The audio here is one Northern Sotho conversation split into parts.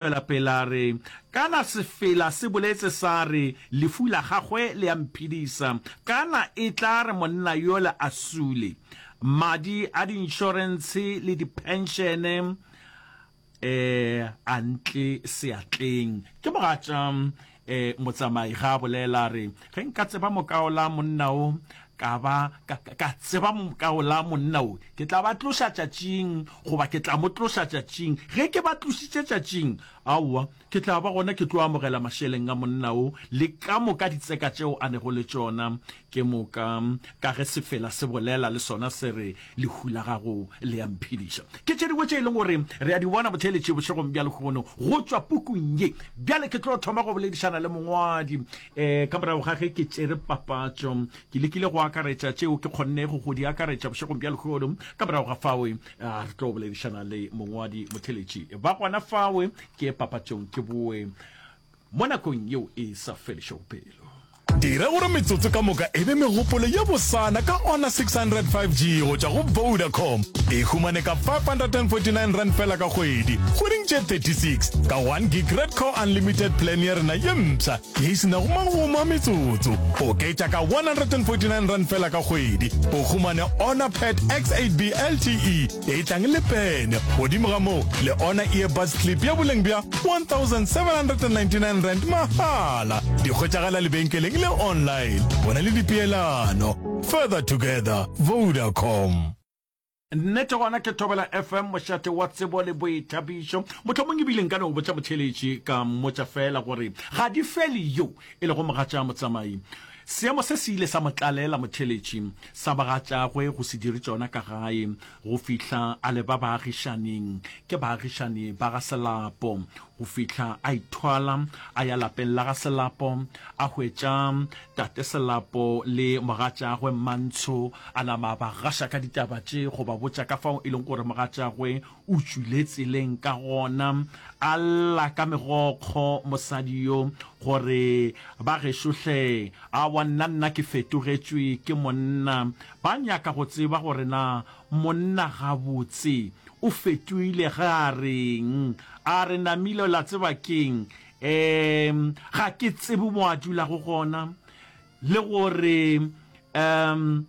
Tšwela pele a re, Kana sefela se boletse sa re, Lefu la gagwe le a mphedisa. Kana e tla re monna yola a sule, madi a diinšorentshe le diphenšene a ntle seatleng. Ke mogatša Motsamai ge a bolela a re, Ge nka tseba mokaola monna o, ka ba ka, ka tseba mokaola monna o, ke tla ba tloša tšatšing, goba ke tla mo tloša tšatšing. Ge ke ba tlošitše tšatšing, aowa, ke tla ba gona ke tlo amogela mašeleng a monna o, le ka moka ditseka tšeo a nego le tšona. Ke moka, ka ge sefela se bolela, le sona se re, Lehu la gago le a mphediša. Ke tše dingwe tše e leng gore re a di bona botheeletši bošegong bja lehono go tšwa pukung ye. Bjale ke tlo thoma go boledišana le mongwadi. Um ka morago ga ge ke tšere papatšo, ke lekile go akaretša tšeo ke kgonnego go di akaretša bošegong bja lehono. Ka morago ga fao, re tlo boledišana le mongwadi motheeletši. Ba gona fao, ke ye papatšong ke boe mo nakong yeo e sa felišego pelo. Dira gore metsotso ka moka e be megopolo ye bosana ka Honor 600 5G go tšwa go Vodacom. E humane ka R549 fela ka kgwedi, kgweding tše 36, ka 1 gig Red Core Unlimited plan ya rena ye mpsha ye e se nago magomo a metsotso. Oketša ka R149 fela ka kgwedi, o humane Honor Pad X8B LTE e tlang le pene, godimo ga moo le Honor Earbuds Clip ya boleng bja R1799 mahala. Di hwetšagala lebenkeleng le online. Bona le dipeelano. Further together, Vodacom. Nnete gona ke Thobela FM, mošate wa tsebo le boithabišo. Mohlomong ebile nka no botša motheeletši ka mmotša feela gore ga di fele yo e lego mogatša motsamai. Seemo se se ile sa mo tlalela motheeletši sa bagatšagwe go se dire tšona ka gae go fihla a leba baagišaning. Ke baagišani ba ga Selapo. Go fihla a ithwala a ya lapeng la ga Selapo, a hwetša tate Selapo le mogatšagwe Mmantsho, a nama a ba gaša ka ditaba tše go ba botša ka fao e leng gore mogatšagwe o tšwile tseleng ka gona. A lla ka megokgo mosadi yo gore, Ba gešo hle, aowa nna nna ke fetogetšwe ke monna. Ba nyaka go tseba gore na monna gabotse o fetoile ge a reng. A re namile la tseba keng? Um ga ke tsebe mo a dulago gona le gore um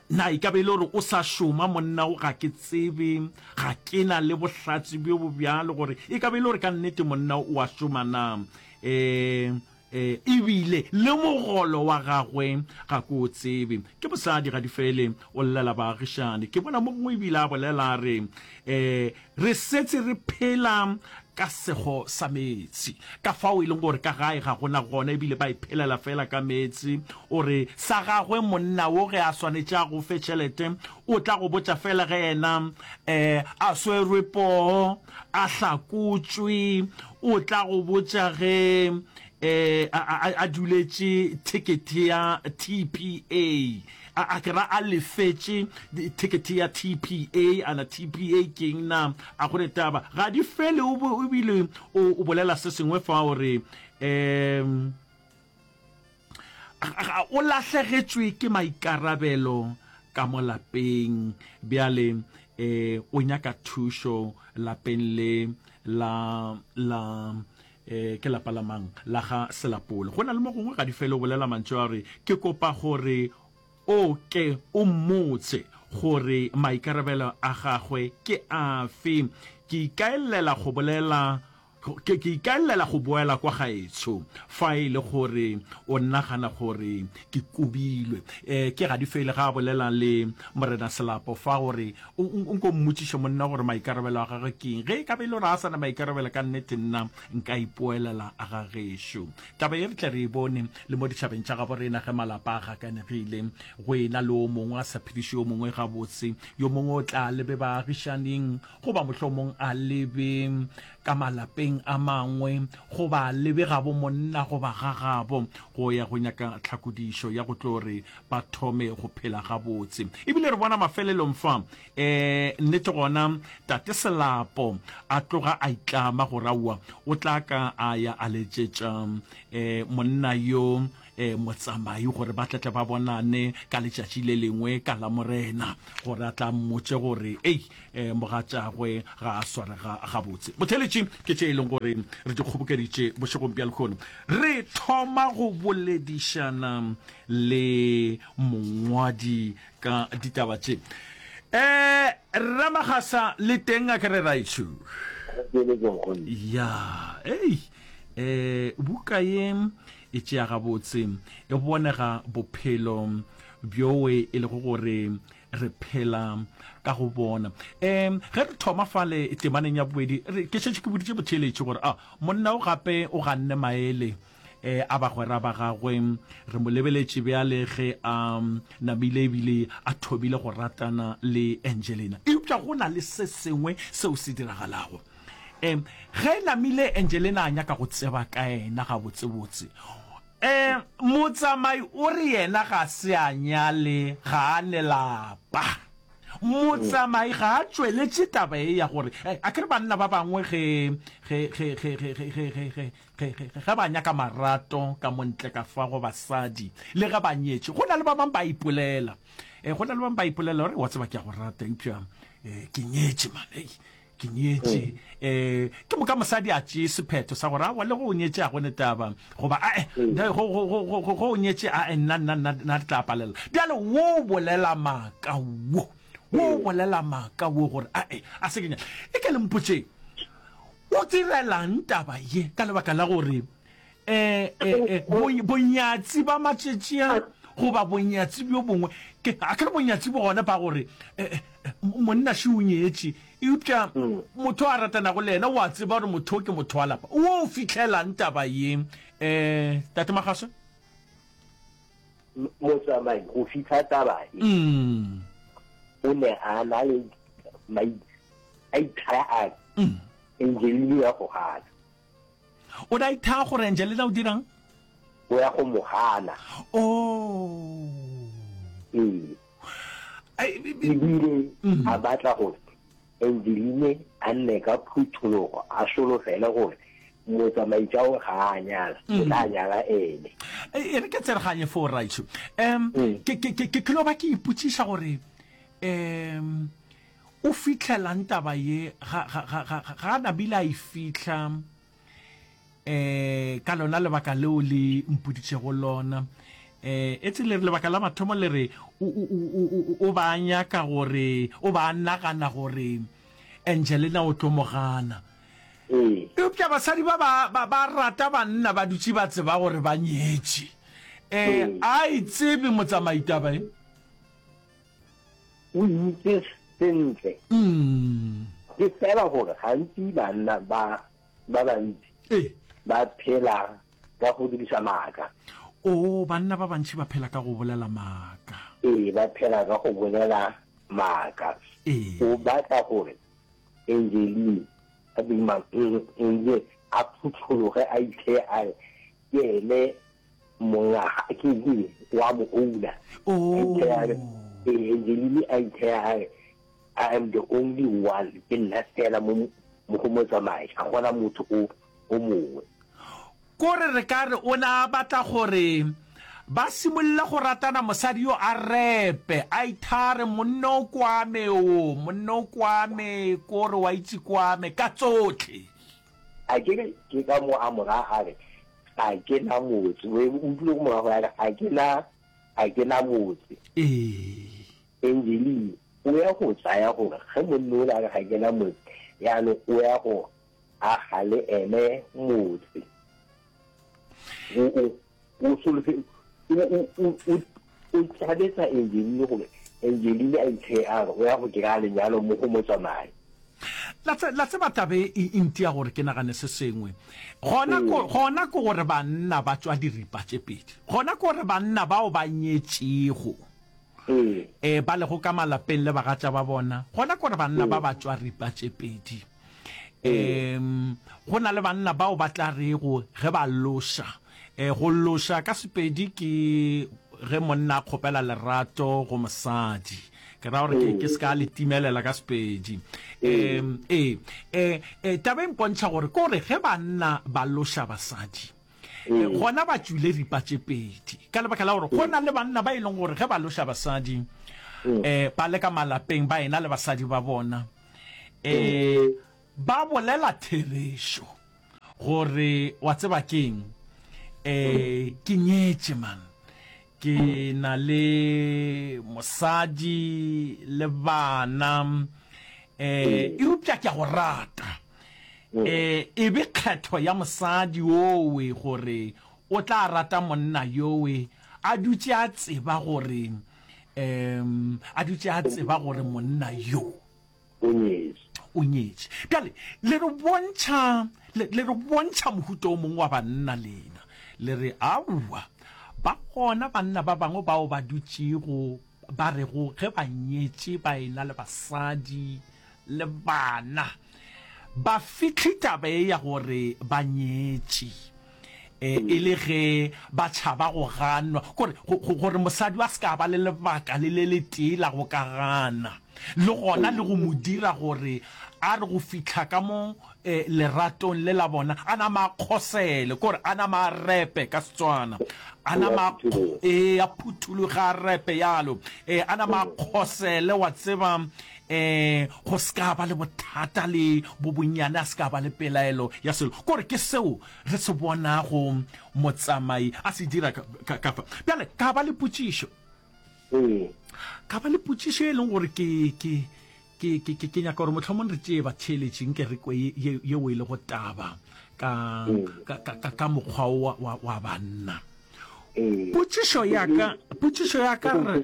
na e ka be e le gore o sa šoma monna o ga ke tsebe, ga ke na le bohlatse bjo bo bjalo gore e ka be e le gore ka nnete monna o a šoma na. Um E, ebile le mogolo wa gagwe ga ke o tsebe. Ke mosadi Gadifele, o llela baagišani. Ke bona mo gongwe ebile a bolela a re, E, re setse re phela ka sego sa meetse. Ka fao e leng gore ka gae ga go na gona ebile ba iphelela fela ka meetse. O re sa gagwe monna wo ge a swanetše a go fe tšhelete, o tla go botša fela ge yena e, a swerwe poo, a hlakotšwe, O tla go botša ge a, a, a duletše thekethe ya TPA, a, a ke ra a lefetše thekethe ya TPA, ana TPA ke eng na? A go ne taba. Ga di fele, o, o bile o, o bolela se sengwe fa o re, um, O lahlegetšwe ke maikarabelo ka mo lapeng bjale e o nyaka thušo lapeng le la la e ke lapa la mang la ga Selapole. Go na le mo gongwe ga di fele o bolela mantšu a gore ke kopa gore o ke o mmotse gore maikarabelo a gagwe ke afe. Ke ikaellela go bolela Ke, ke ikaelela go boela kwa gaetsho, fa e le gore o nagana gore ke kobilwe. E, ke Gadifele ga a bolela le Morena Selapo fa gore o, o, nko mmotšiše monna gore maikarabelo a gagwe ke eng. Ge e ka be e le gore a sa na maikarabelo ka nnete nna nka ipoelela a ga gešo. Taba ye re tle re e bone le mo ditšhabeng tša gabo rena ge malapa a gakanegile, go ena le o mongwe a sa phediše yo mongwe gabotse, yo mongwe o tla lebe baagišaning, goba mohlomong a lebe ka malapeng a mangwe, goba a lebe gabo monna goba ga gabo go ya go nyaka tlhakodišo ya go tlo re ba thome go phela gabotse. Ebile re bona mafelelong fa, um nnete gona Tate Selapo a tloga a itlama gore aowa o tla ka a ya a letšetša um monna yo. um motsamai gore ba tletle ba bonane ka letšatši le lengwe ka Lamorena gore a tla mmotše gore ei um mogatšagwe ga a swarega gabotse. Botheletši ke tše e leng gore re di kgobokeditše bošegong bja lehono. Re thoma go boledišana le mongwadi ka ditaba tše. Um Ramagasa le teng a ke re raetsho? Ya, ei, um buka ye e tšea gabotse, e bonega bophelo bjoe e lego gore re phela ka go bona. Um ge re thoma fale temaneng ya bobedi, re, ke šetše ke boditše botheeletši gore a monna o gape o ganne maele um a bagwera ba gagwe. Re mo lebeletše bjale ge a namile ebile a thomile go ratana le Angelina. Eupša go na le se sengwe seo se diragalago. Um ge namile Angelina a nyaka go tseba ka yena gabotsebotse, um motsamai o re yena ga se a nyale, ga a ne lapa. Motsamai ga a tšweletše taba ye ya gore, a ke re banna ba bangwe ge, ge, ge, ge, ge, ge, ge, ge, ge, Ge, ge, ge ba nyaka marato ka mo ntle ka fa go basadi, le ge ba nyetše, go na le ba bang ba ipolela. E, go na le ba bang ba ipolela gore, wa tseba, ke a go rata, eupša e, ke nyetše, man, ei, ke nyetše. E, ke moka mosadi a tšee sephetho sa gore, aowa, le go o nyetše a go ne taba, goba, ae, go, go, go, go, go, go o nyetše, ae, nna, nna, nna, nna re tla palela. Bjale wo o bolela maaka wo, wo o bolela maaka wo gore, ae, a se ke nyale. E ke le mpotšeng, O direlang taba ye? Ka lebaka la gore um bonyatsi ba matšatši a goba bonyatsi bjo bongwe, ke a ke re bonyatsi bo gona ba gore monna še o nyetše, eupša motho a ratanago le yena o a tseba gore motho o ke motho wa lapa. O fihlelang taba ye, um Tate Magaso? Motsamai go fitlha taba e, o ne a na le a ithaya a re Angelina o ya go gana. O ne a ithaya gore Angelina o dirang? O ya go mo gana. Oh. Ee. Ebile a batla gore Angeline a nne ka phuthologo a solofele gore motsamaitša o ga a nyala, o tla nyala ene. E re ke tsereganye foo rraetsho. Um ke ke ke ke no ba ke ipotšiša gore um o fihlelang taba ye ga ga ga ga ga a nabile a e fihla um ka lona lebaka leo le mpoditšego lona. Um etse le re lebaka la mathomo le re o, o, o, o, o ba a nyaka gore, o ba a nagana gore Angelina o tlo mo gana. Ee. Eupša basadi ba ba, ba, ba rata banna ba dutše ba tseba gore ba nyetše. Um a e tsebe motsamai taba e. O itse sentle. Ke fela gore gantsi banna ba ba bantsi Ee. ba phela ka go dirisa maaka. Oo, banna ba bantši ba phela ka go bolela maaka. Ee, ba phela ka go bolela maaka. Ee. O batla gore Angeline a bima Ange a phuthologe a itheye a re ke ene monga ke ke wa mo owner. Oh. A itheye a re ee, Angeline a itheye a re I am the only one, ke nna fela mo mo go motsamai, ga gona motho o o mongwe. Kore re ka re o ne a batla gore ba simolole go ratana mosadi yo a repe, a ithare monna o kwame o, monna o kwame, kore wa itse kwame, ka tsotlhe. A ke re ke ka mo a mo raya a re ga ke na motse, o utlwile go mo raya gore a re ga ke na, ga ke na motse. Ee. Angeline o ya go tsaya gore ge monna ola a re ga ke na motse, jaanong o ya go aga le ene motse. O, o, o solofe, o, o, o, o, o tšhabetsa Angeline gore Angeline a itheye a re o ya go kry-a lenyalo mo go motsamai. La, tse, la tseba tabe e, e ntia gore ke nagane se sengwe. Gona ko, gona ke gore banna ba tšwa diripa tše pedi. Gona ke gore banna bao ba nyetšego. Ee, ba lego ka malapeng le bagatša ba bona, gona ke gore banna ba ba tšwa ripa tše pedi. Um, go na le banna bao ba tla rego ge ba loša, e, go loša ka Sepedi ke ge monna a kgopela lerato go mosadi. Ke ra gore ke, ke se ka le timelela ka Sepedi. Um, ee, e, e, taba e mpontšha gore ke gore ge banna ba loša basadi, Gona ba tšwile ripa tše pedi ka lebaka la gore go na le banna ba e leng gore ge ba loša basadi um ba le ka malapeng ba ena le basadi ba bona um ba bolela therešo gore wa tseba keng um ke nyetše man ke na le mosadi le bana um eupša ke a go rata um e be kgetho ya mosadi owe gore o tla rata monna yowe a dutše a tseba gore um a dutše a tseba gore monna yo O nyetše. O nyetše. Bjale, le re bontšha, le, le re bontšha mohuta o mongwe wa banna lena. Le re, Aowa, ba gona banna ba bangwe bao ba dutšego, ba rego ge ba nyetše ba ena le basadi le bana, ba fihle taba ye ya gore ba nyetše, e, e le ge ba tšhaba go ganwa, gore, go, go, gore mosadi a se ka ba le lebaka le le letee la go ka gana, le gona le go mo dira gore a re go fihla ka mo e, leratong le la bona, a nama a kgosele, kore a nama a repe ka Setswana, a nama a, ee, a phuthologe a repe yalo, e, a nama a kgosele, wa tseba, E, go se ka ba le bothata le bo bonnyane, a se ka ba le pelaelo ya selo. Kore ke seo re se bonago motsamai a se dira ka, ka, ka fa. Bjale, ka ba le potšišo. Ee. Ka ba le potšišo e leng gore ke, ke, ke, ke, ke, ke nyaka gore mohlomong re tšee batheeletši nke re kwe ye, ye, yeo e lego taba ka, ka, ka, ka, ka mokgwa wa, wa, wa banna. Ee. Potšišo ya ka, potšišo ya ka re.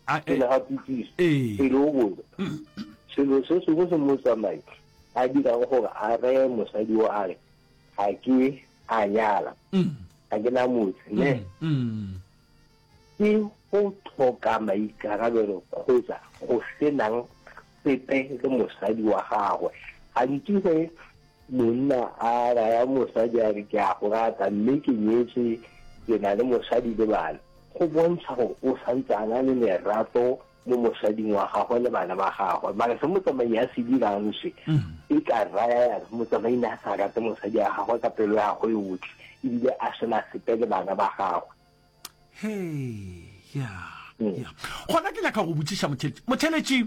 Pele ga potšišo, pele o botsa, selo se sengwe se motsamai a dirago gore a reye mosadi o a re, Ga ke a nyala, ga ke na motse, ne? Ke go tlhoka maikarabelo kgotsa go se nang sepe le mosadi wa gagwe. Gantsi ge monna a raya mosadi a re, Ke a go rata mme ke nyetswe, ke na le mosadi le bana, go bontsha gore o santse a na le lerato mo mosading wa gagwe le bana ba gagwe. Mara se motsamai a se dirang se, e ka raya ya re motsamai ne a sa rate mosadi wa gagwe ka pelo ya gagwe yotlhe ebile a se na sepe le bana ba gagwe. Hei, ya, ya. Gona ke nyaka go botšiša motheletši. Motheletši,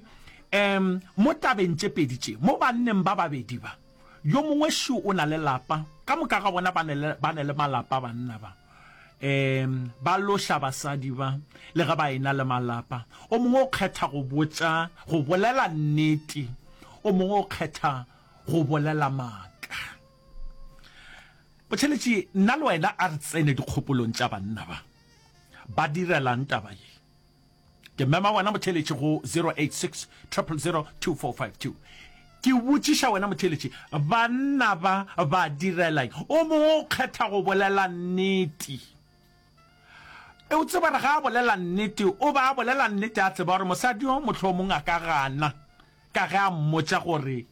um, mo tabeng tše pedi tše, mo banneng ba babedi ba, yo mongwe šo o na le lapa, ka moka ga bona ba ne le, ba ne le malapa banna ba. Um, ba loša basadi ba, le ge ba e-na le malapa. O mongwe o kgetha go botša, go bolela nnete, o mongwe o kgetha go bolela maaka. Botheletši, nna le wena a re tsene dikgopolong tša banna ba. Ba direlang taba ye? Ke mema wena motheletši go 086 000 2452. Ke botšiša wena motheletši, banna ba ba direla eng? O mongwe o kgetha go bolela nnete. E o tseba re ga a bolela nnete, o ba a bolela nnete a tseba gore mosadi yo mohlomong a ka gana ka ge a mmotša gore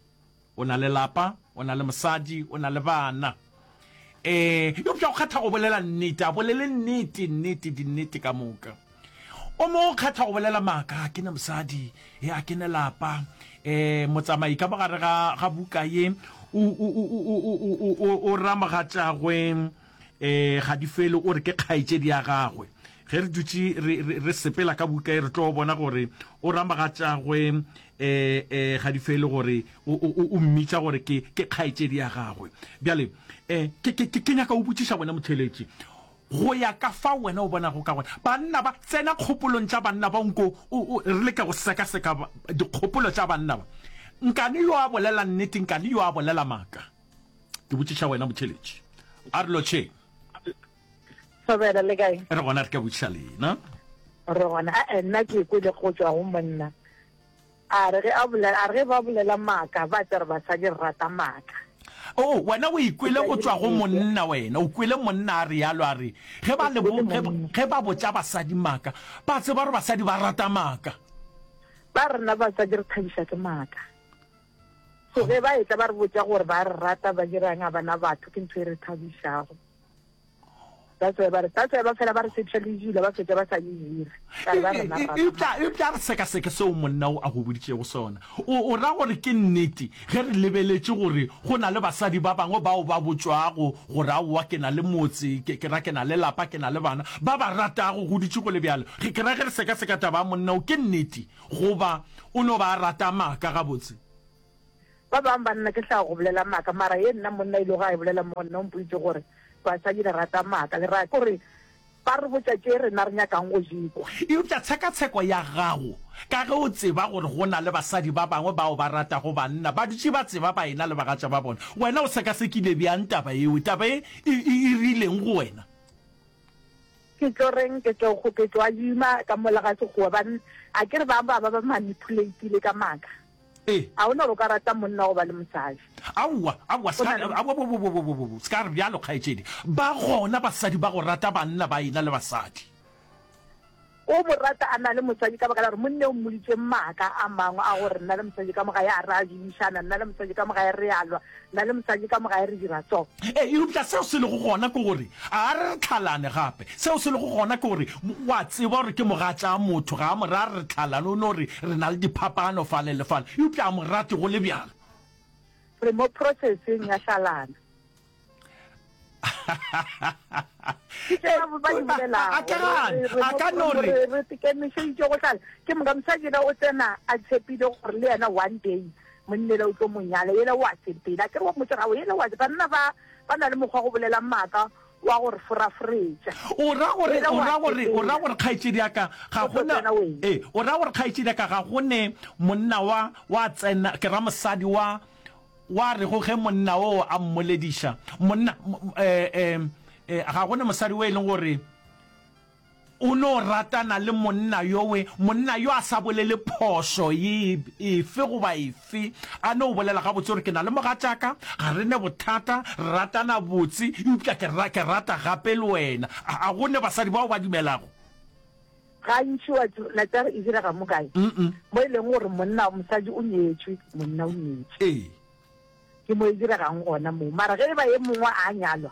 O na le lapa, o na le mosadi, o na le bana. Ee, eupša o kgetha go bolela nnete, a bolele nnete, nnete, dinnete ka moka. O mongwe o kgetha go bolela maaka, a ke ne mosadi, e a ke ne lapa. E, motsamai ka mogare ga, ga buka ye, o, o, o, o, o, o, o, o ra mogatšagwe, e, Gadifele o re ke kgaetšedi ya gagwe. Ge re dutše re, re, re sepela ka buka ye, re tlo bona gore o ra mogatšagwe e, e, Gadifele gore o, o, o, o mmitša gore ke, ke kgaetšedi ya gagwe. Bjale, e, ke, ke, ke, ke nyaka o botšiša wena motheeletši, go ya ka fao wena o bonago ka gona, banna ba, tsena kgopolong tša banna ba, nko o, o, re leke go sekaseka dikgopolo tša banna ba. Nkane yo a bolela nnete, nkane yo a bolela maaka? Ke botšiša wena motheeletši. A re lotšheng. Thobela, le kae? Re gona, re ka botšiša lena. Re gona. A nna ke kwele go tšwa go monna. A re ge a bolela, a re ge ba bolela maaka, ba tla re basadi re rata maaka. Oh, wena o ikwele go tšwa go monna, wena o kwele monna a realo, a re ge ba le bo, ge, ge ba botša basadi maaka, ba tseba gore basadi ba rata maaka. Ba rena basadi re thabiša ke maaka. So ge ba etla ba re botša gore ba re rata, ba dirang, a bana batho, ke ntho e re thabišago. That's why ba re, that's why ba fela ba re tshepiša le dilo, ba fetša ba sa di dire. Ka re ba rena re rata Eupša, maaka. eupša re sekaseke seo monna o a go boditšego sona. O, o ra gore ke nnete ge re lebeletše gore go na le basadi ba bangwe bao ba botšwago gore aowa ke na le motse, ke, ke ra ke na le lapa, ke na le bana, ba ba ratago go dutše go le bjalo. Ge, ke ra ge re sekaseka taba ya monna o, ke nnete goba o no ba a rata maaka gabotse? Ba bangwe banna ke hlago go bolela maaka, mara ye nna monna e lego a e bolela mo go nna o mpoditše gore basadi le rata maaka, le ra kore ba re botša tše rena re nyakang go di kwa. Eupša tshekatsheko ya gago, ka ge o tseba gore go na le basadi ba bangwe bao ba ratago banna, ba dutše ba tseba ba ena le bagatša ba bona, wena o sekasekile bjang taba yeo? Taba ye e, e, e rileng go wena? Ke tlo reng? Ke tlo, ke tlo adima ka mola ga Sekgowa, ba, a ke re ba ba ba ba manipulate-ile ka maaka. Ee. A o na gore o ka rata monna go ba le mosadi? Aowa, aowa, Go se na ka, le. aowa, bo, bo, bo, bo, bo, bo, bo, se ka re bjalo, kgaetšedi. Ba gona basadi ba go rata banna ba ena le basadi. O mo rata a na le mosadi ka baka la gore monna o mmoditše maaka a mangwe a gore nna le mosadi ka mo gae a re a dumišana, nna le mosadi ka mo gae re a lwa, nna le mosadi ka mo gae re dira so. Ee, eupša seo se lego gona ke gore, a re re tlhalane gape. Seo se lego gona ke gore, o a tseba gore ke mogatša motho, ga a mo re a re re tlhalane, o no re re na le diphapano fale le fale, eupša a mo rate go le bjalo. Re mo processeng ya hlalana. Ke tše ba ba di bolelago. A ka gane, Re, re, a ka no re. re, re ikemišeditše go hlala. Ke moka mosadi yena o tsena a tshepile gore le yena one day monna yela o tlo mo nyala, yela o a sepela. Akere wa mmotša gore aowa yela o a Banna ba ba na le mokgwa wa go bolela maaka wa go re foraforetša. O ra gore, Yela o o a ra gore, o ra sepela. gore kgaetšedi ya ka ga O go tlo na, tsena wena. ee, o ra gore kgaetšedi ya ka ga go ne monna wa, wa tsena, ke ra mosadi wa, Wa rego ge monna oo a mmolediša, monna, e, e, e, ga go ne mosadi o e leng gore o no ratana le monna yowe, monna yo a sa bolele phošo ye efe goba efe, a no bolela gabotse gore ke na le mogatšaka, ga re ne bothata, re ratana botse, eupša ke, ke rata gape le wena. A, a go ne basadi bao ba dumelago? Gantši wa tseba taba e direga mo kae? Mo e leng gore monna, mosadi o nyetšwe, monna o nyetše. Ee. Ke mo e diregang gona moo. Mara ge e ba e mongwe a nyalwa,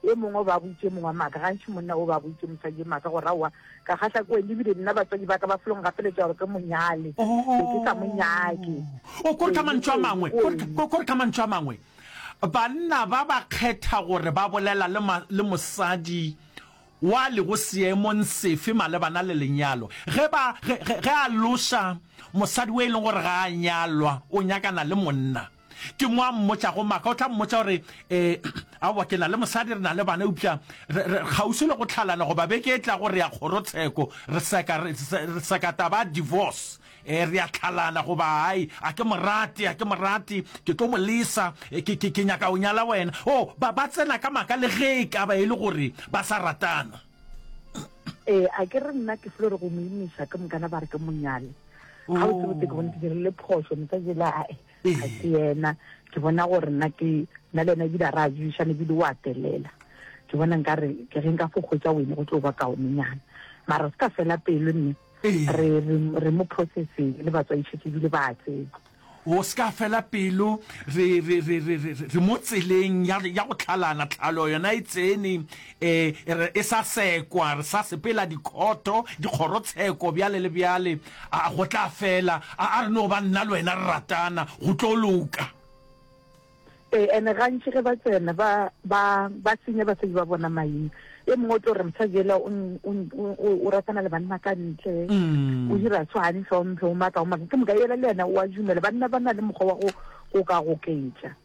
e mongwe o ba botše mongwe maaka. Gantši monna o ba botše mosadi maaka gore aowa, ka kgahla ke wena ebile nna batswadi ba ka ba felo ngapeletša gore ke mo nyale. Be ke sa mo nyake. O kore ka mantšu a mangwe, kore ka mantšu a mangwe, banna ba ba kgetha gore ba bolela le, le mosadi wa lego seemong sefe malebana le lenyalo? Ge ba, ge, ge, ge a loša mosadi o e leng gore ga a nyalwa, o nyakana le monna, ke mo a mmotšago maaka. O tla mmotša gore, E, aowa, ke na le mosadi, re na le bana, eupša re, re kgauswi le go hlalana, goba beke e tlago re ya kgorotsheko, re seka, re, re seka taba ya divorce. E, re a hlalana, goba ai, a ke mo rate, a ke mo rate, ke tlo mo lesa, e, ke, ke, ke nyaka go nyala wena. Oh, ba, ba tsena ka maaka le ge e ka ba e le gore ba sa ratana. Ee, a ke re nna ke felo re go mo imiša ke mokana ba re ke mo nyale. Ga o tsebe ke bone ke dirile phošo mosadi la ae ga se yena. Ke bona gore nna ke nna le yena ebile a re a dudišane ebile o a telela. Ke bona nka re ke ge nka fo hwetša wene go tlo ba kaonenyana. Mara se ka fela pelo mme. Re, re, re mo processeng le batswadi šetše ebile ba a tseba. O se ka fela pelo, re, re, re, re, re, re mo tseleng ya, ya go tlhalana, tlhalo yona e tsene, e, re, e sa sekwa, re sa sepela dikhoto, dikgorotsheko, bjale le bjale, a, go tla fela, a, a re no ba nna le wena re ratana, go tlo loka. Ee, ene gantši ge ba tsena ba, ba, ba senya basadi ba bona maina. E mongwe o tlo re mosadi yela o, o, o, o ratana le banna ka ntle, o dira so, ga ntlhomphe, o maaka, o maaka. Ke moka yela le yena o a dumela. Banna ba na le mokgwa wa go, go ka goketša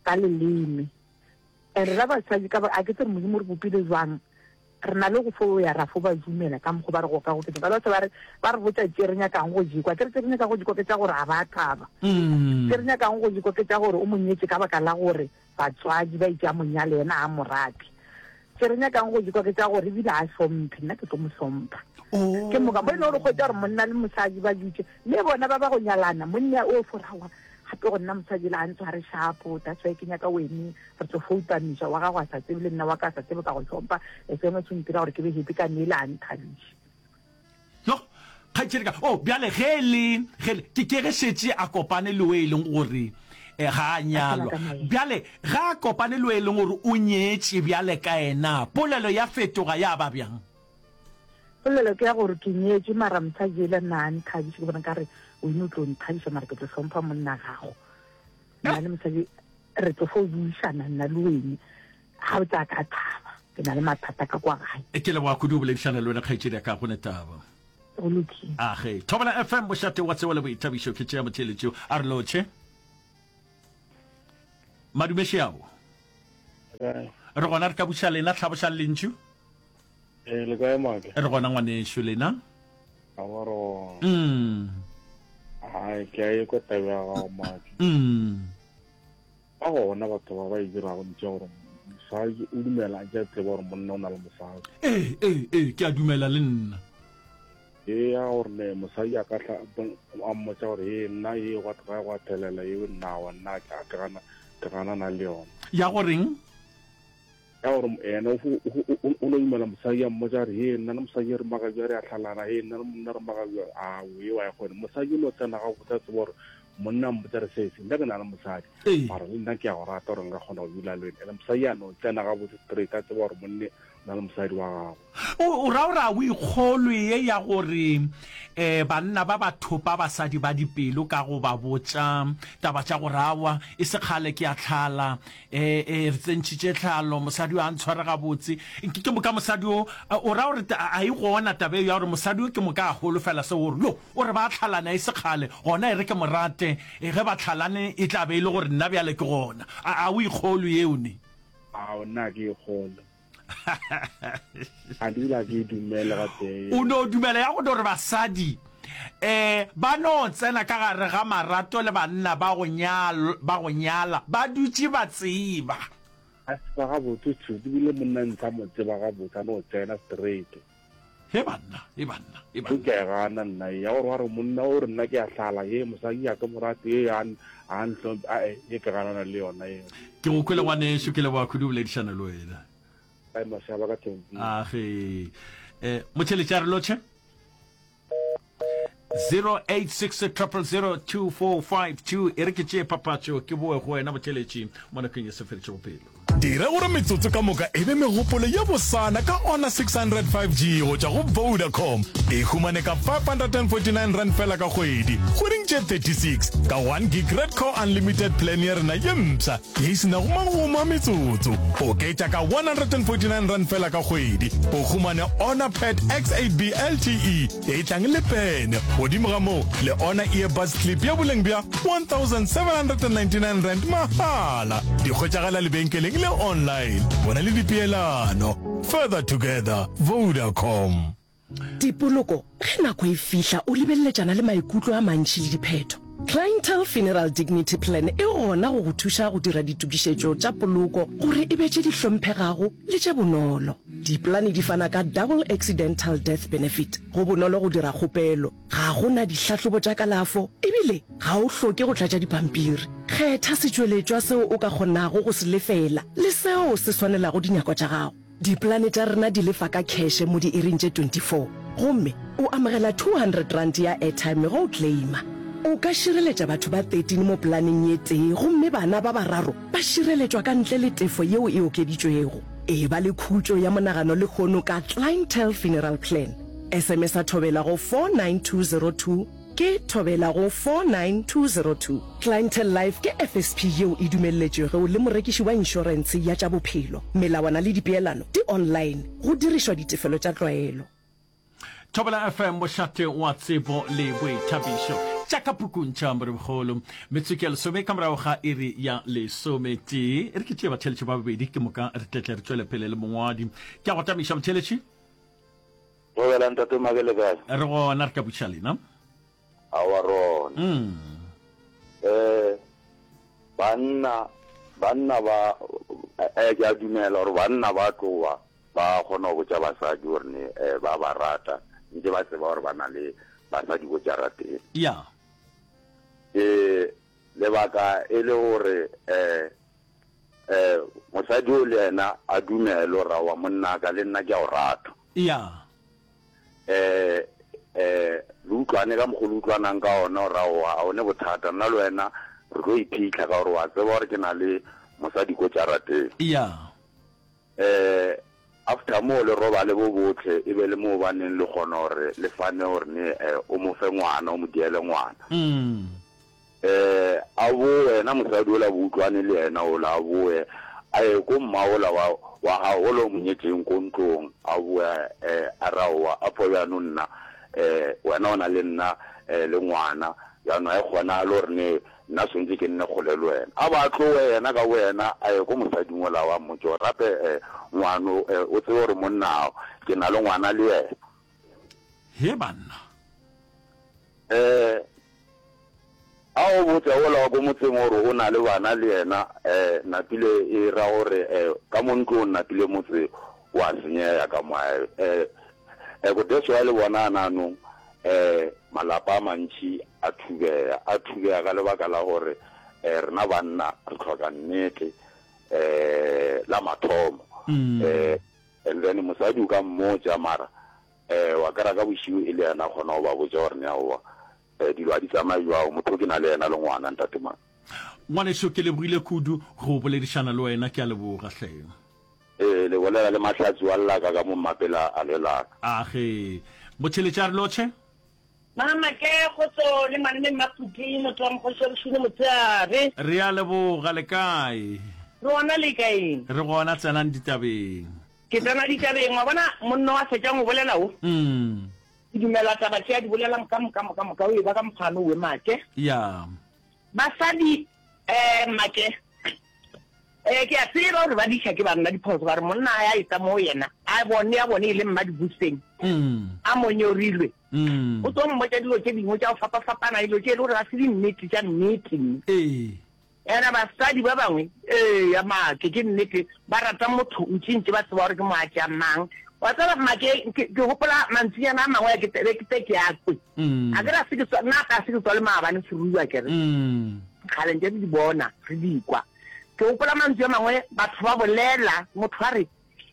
ka leleme. And rena basadi ka ba, a ke tsebe Modimo o re bopile jwang, Re na le go fo ya ra fo ba dumela ka mokgo ba re gokagoketša ka batho ba re ba re botša tše re nyakang go di kwa. Ke re tše re nyakang go di kwa ke tša gore ga ba thaba. Tše re nyakang go di kwa ke tša gore o mo nyetše ka baka la gore batswadi ba itše a mo nyale yena ga a mo rate. Tše re nyakang go di kwa ke tša gore ebile ga a hlomphe, nna ke tlo mo hlompha. Ke moka mo e le gore hwetša gore monna le mosadi ba dutše mme bona ba ba go nyalana, monna o fo re aowa gape go nna mosadi la a ntshware shapo, that's why ke nyaka wene. Re tlo foutamiša, wa gago a sa tsebe le nna wa ka a sa tsebe ka go hlompha, as long as o ntira gore ke be happy ka neela a nthabiše. Yoh, kgaetšedi ka, oh, bjale ge e le, ge le, ke, ke ge šetše a kopane le o e leng gore, Eh, ga a nyalwa. Bjale ge a kopane le o e leng gore o nyetše bjale ka yena, polelo ya fetoga ya ba bjang? Polelo ke ya gore ke nyetše mara mosadi yela nna a nthabiše, ke bona nkare wena o tlo nthabiša mara ke tlo hlompha monna gago. Nna le mosadi re tlo fo buišana nna le wene, ga o tsa ka thaba, ke na le mathata ka kwa gae. Ke leboga kudu go boledišana le wena kgaetšedi ya ka, go ne taba. Go lokile. Age. Thobela FM, mošate wa tsebo le boithabišo, ke tšea motheeletši a re lotšhe. Madume šeao. Re gona re ka buša lena, hlabošang lentšu. Ee, le kae Maake? Re gona ngwanešu, lena? Aowa re gona. Mm. Hai, ke a ekwa taba ya gago Maake. Mm. Ba gona batho ba ba e dirago ntše gore mosadi o dumela a ntše a tseba gore monna o na le mosadi. Ee, ee, ee, ke a dumela le nna. Ee, ya gore ne mosadi a ka tla a mmotsa gore ee nna ee gwa tloga gwa thelela eo nna wa nna ke gana ke ganana le yona. Ya goreng? Ka gore yena o no dumela mosadi a mmotsa gore he nna le mosadi re maka bja re a tlhalana he nna le monna re maka bja a o wa ya gone mosadi o no tsena ga botsa tseba gore monna mmotsa re sese nna ke na le mosadi mara le nna ke a go rata gore nka kgona go dula le wena ene mosadi a no tsena ga botse straight a tseba gore monne o na le mosadi wa gagwe. O ra gore a o ikgolwe ye ya gore um banna ba ba thopa basadi ba dipelo ka go ba botša taba tša gore aowa e se kgale ke a tlhala, e, e re tsentšhitše tlhalo, mosadi yo a ntshware gabotse. Ke, ke moka mosadi yo, o ra gore a e gona taba eo ya gore mosadi yo ke moka a holofela seo gore yo o re ba tlhalana e se kgale, gona e re ke mo rate, ge ba tlhalane e tla be e le gore nna bjale ke gona. A, a o ikgolwe yeo ne? Ao, nna ga ke ikgolwe. Ga dula ke dumele gatee. O no dumela ya go no re basadi um ba no tsena ka gare ga marato le banna ba go nyal ba go nyala ba dutše ba tseba. A tseba gabotse tšhuti ebile monna ntsha mo tseba gabotse a no tsena straight. He banna, he banna, he banna. Ke a e gana nna ye ya gore wa re monna o re nna ke a hlala ye mosadi ya ke mo rate ye a a ntlhompe ae ye ke ganana le yona ye. Ke go kwele ngwanešu ke leboga kudu boledišana le wena. Ai mašaba ka thempile. Age. Eh motšheletši a re lotšhe. 086 000 2452 e re ke tšee papatšo ke boe go wena motheletši mo nakong ye seferetše bophelo. Dira gore metsotso ka moka e be megopolo ye bosana ka Honor 600 5G go tšwa go Vodacom. E humane ka R549 feela ka kgwedi, kgweding tše 36, ka 1 gig Red Core Unlimited plan ya rena ye mpsha ye e se nago magomo a metsotso. Oketša ka R149 feela ka kgwedi, o humane Honor Pad X8B LTE e tlang le pene. Godimo ga moo, le Honor Earbuds Clip ya boleng bja R1799 mahala. Di hwetšagala lebenkeleng le online. Bona le dipeelano. Further together, Vodacom. Dipoloko, Ge nako e fihla o lebeleletšana le maikutlo a mantši le diphetho. Clientele Funeral Dignity Plan e gona go go thuša go dira ditokišetšo tša poloko gore e be tše di hlomphegago le tše bonolo. Dipolane di fana ka Double Accidental Death Benefit. Go bonolo go dira kgopelo, ga go na dihlahlobo tša kalafo ebile ga o hloke go tlatša dipampiri. Kgetha setšweletšwa seo o ka kgonago go se lefela le seo se swanelago dinyakwa tša gago. Dipolane tša rena di lefa ka kheše mo diiring tše 24 gomme o amogela R200 ya airtime ge o claima. O ka šireletša batho ba 13 mo polaneng ye tee gomme bana ba bararo ba šireletšwa ka ntle le tefo yeo e okeditšwego. Eba le khutšo ya monagano lehono ka Clientele Funeral Plan. SMS-a Thobela go 49202 ke Thobela go 49202. Clientele Life ke FSP yeo e dumelletšwego le morekiši wa inšorentshe ya tša bophelo. Melawana le dipeelano di online go dirišwa ditefelo tša tlwaelo. Thobela FM, mošate wa tsebo le boithabišo. Tša ka pukung tša Morebogolo. Metsotso ya lesome ka morago ga iri ya lesometee. E re ke tšee batheeletši ba babedi ke moka re tletle re tšwele pele le mongwadi. Ke a go tamiša motheeletši. Thobela ntate Make le kae? Re gona re ka buša lena. Aowa rona. Mm. Eh banna banna ba eh ke a dumela gore banna ba tloa ba kgona go botša basadi gore ne eh, ba ba rata ntse ba tseba gore ba na le basadi ko jarateng. Ya. Eh lebaka e le gore eh eh mosadi o le yena a dumele gore aowa monna ka le nna ke a o rata. Ya. Eh eh le utlwane ka mokgwa le utlwanang ka ona gore aowa a one bothata nna le wena. Re tlo iphitlha ka gore wa tseba gore ke na le mosadi ko jarateng. Ya. Eh, after moo le robale bo bohle, e be le moo ba neng le kgona gore le fane gore ne eh, o mo fe ngwana, o mo diele ngwana. Mm. Eh, a boe, yena mosadi ola bo utlwane le yena ola, a boe, a ye ko mma ola wa, wa gago ola o mo nyetšeng ko ntlong, a boe, eh, a re aowa, a pho bjanong nna, eh, wena o na le nna, eh, le ngwana, bjanong ga e kgonagale gore ne nna swantše ke nne kgole le wena. A ba tlowe yena ka boyena a ye ko mosading ola wa mmotše gore gape, eh, ngwano, eh, o tsebe gore monna, ke na le ngwana le yena. He banna. Eh, a o botša wola wa ko motseng gore o na le bana le yena, eh, napile e ra gore, eh, ka mo ntlong napile motse wa senyega ka mo. Eh, eh, go that's why le bona ananong, eh, malapa a mantši a thubega, a thubega ka lebaka la gore, eh, rena banna re hloka nnete, eh, la mathomo. Eh, and then mosadi o ka mmotša mara Eh, wa kera ka bošiu e le yena a kgona go ba botša gore neaowa, eh, dilo ga di tsamaye bjao, motho ke na le yena le ngwana, ntate mang. Ngwanešu, ke lebogile kudu go boledišana le wena, ke a leboga hle. Ee, le bolela le Mahlatsi wa Llaka ka mo Mmapela a lelaka. Age. Motšheletše a re lotšhe. Mama ke kgotso le malome Mmaphuti motho wa mokgoši wa bošune motshehare. Re a leboga, le kae? Re gona le kaeng? Re gona, tsenang ditabeng. Ke tsena ditabeng, wa bona monna wa fetšang go bolela wo. Ke dumela taba tše a di bolelang ka moka moka moka o e ba ka mokgwa owe make. Ya. Basadi eh make eh ke a tseba gore ba diša ke banna diphoso ba re monna a ya etsa mo yena a bone ya bone e le mma dibuseng a mo nyorilwe o tlo mmotša dilo tše dingwe tša go fapafapana dilo tše e le gore ga se dinnete tša nnete. Ee. Ena basadi ba bangwe, eya, make, ke nnete, ba rata motho ntši-ntši ba tseba gore ke moatša mang. Wa tseba, make, ke, ke gopola mantšinyana a mangwe a ke, be ke te ke a kwe. A ke re a se ke tswa, nna a se ke tswa le maabane seruiwa ke re. Kgale ntše re di bona, re di kwa. Ke gopola mantšu a mangwe batho ba bolela, motho a re,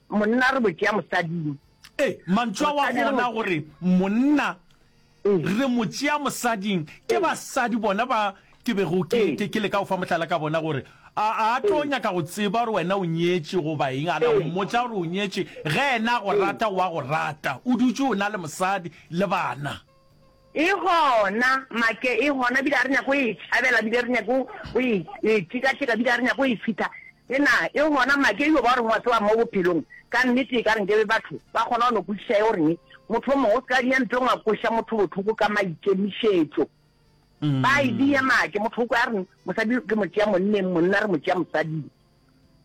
monna re mo tšea mosading. Ee, mantšu ao a gona gore monna Re mo tšea mosading. Ke basadi bona ba ke bego ke, ke, ke leka go fa mohlala ka bona gore a, a tlo nyaka go tseba gore wena o nyetše goba eng, a na o mmotša gore o nyetše, ge yena a go rata, o a go rata. O dutše o na le mosadi le bana. E gona, Make, e gona, bile ga re nyake go e tšhabela, bile re nyake go e, e tšekatšeka, bile ga re nyake go e fihla. E na, e gona, Make, e yo ba gore wa tseba mo bophelong, ka nnete e ka re nkebe batho ba kgona go no kwešiša e gore Motho o mongwe o se ka dia ntong a kweša motho bohloko ka maikemišetšo. Ba e dia make, motho o kwa a re mosadi ke mo tšea monneng, monna re mo tšea mosading.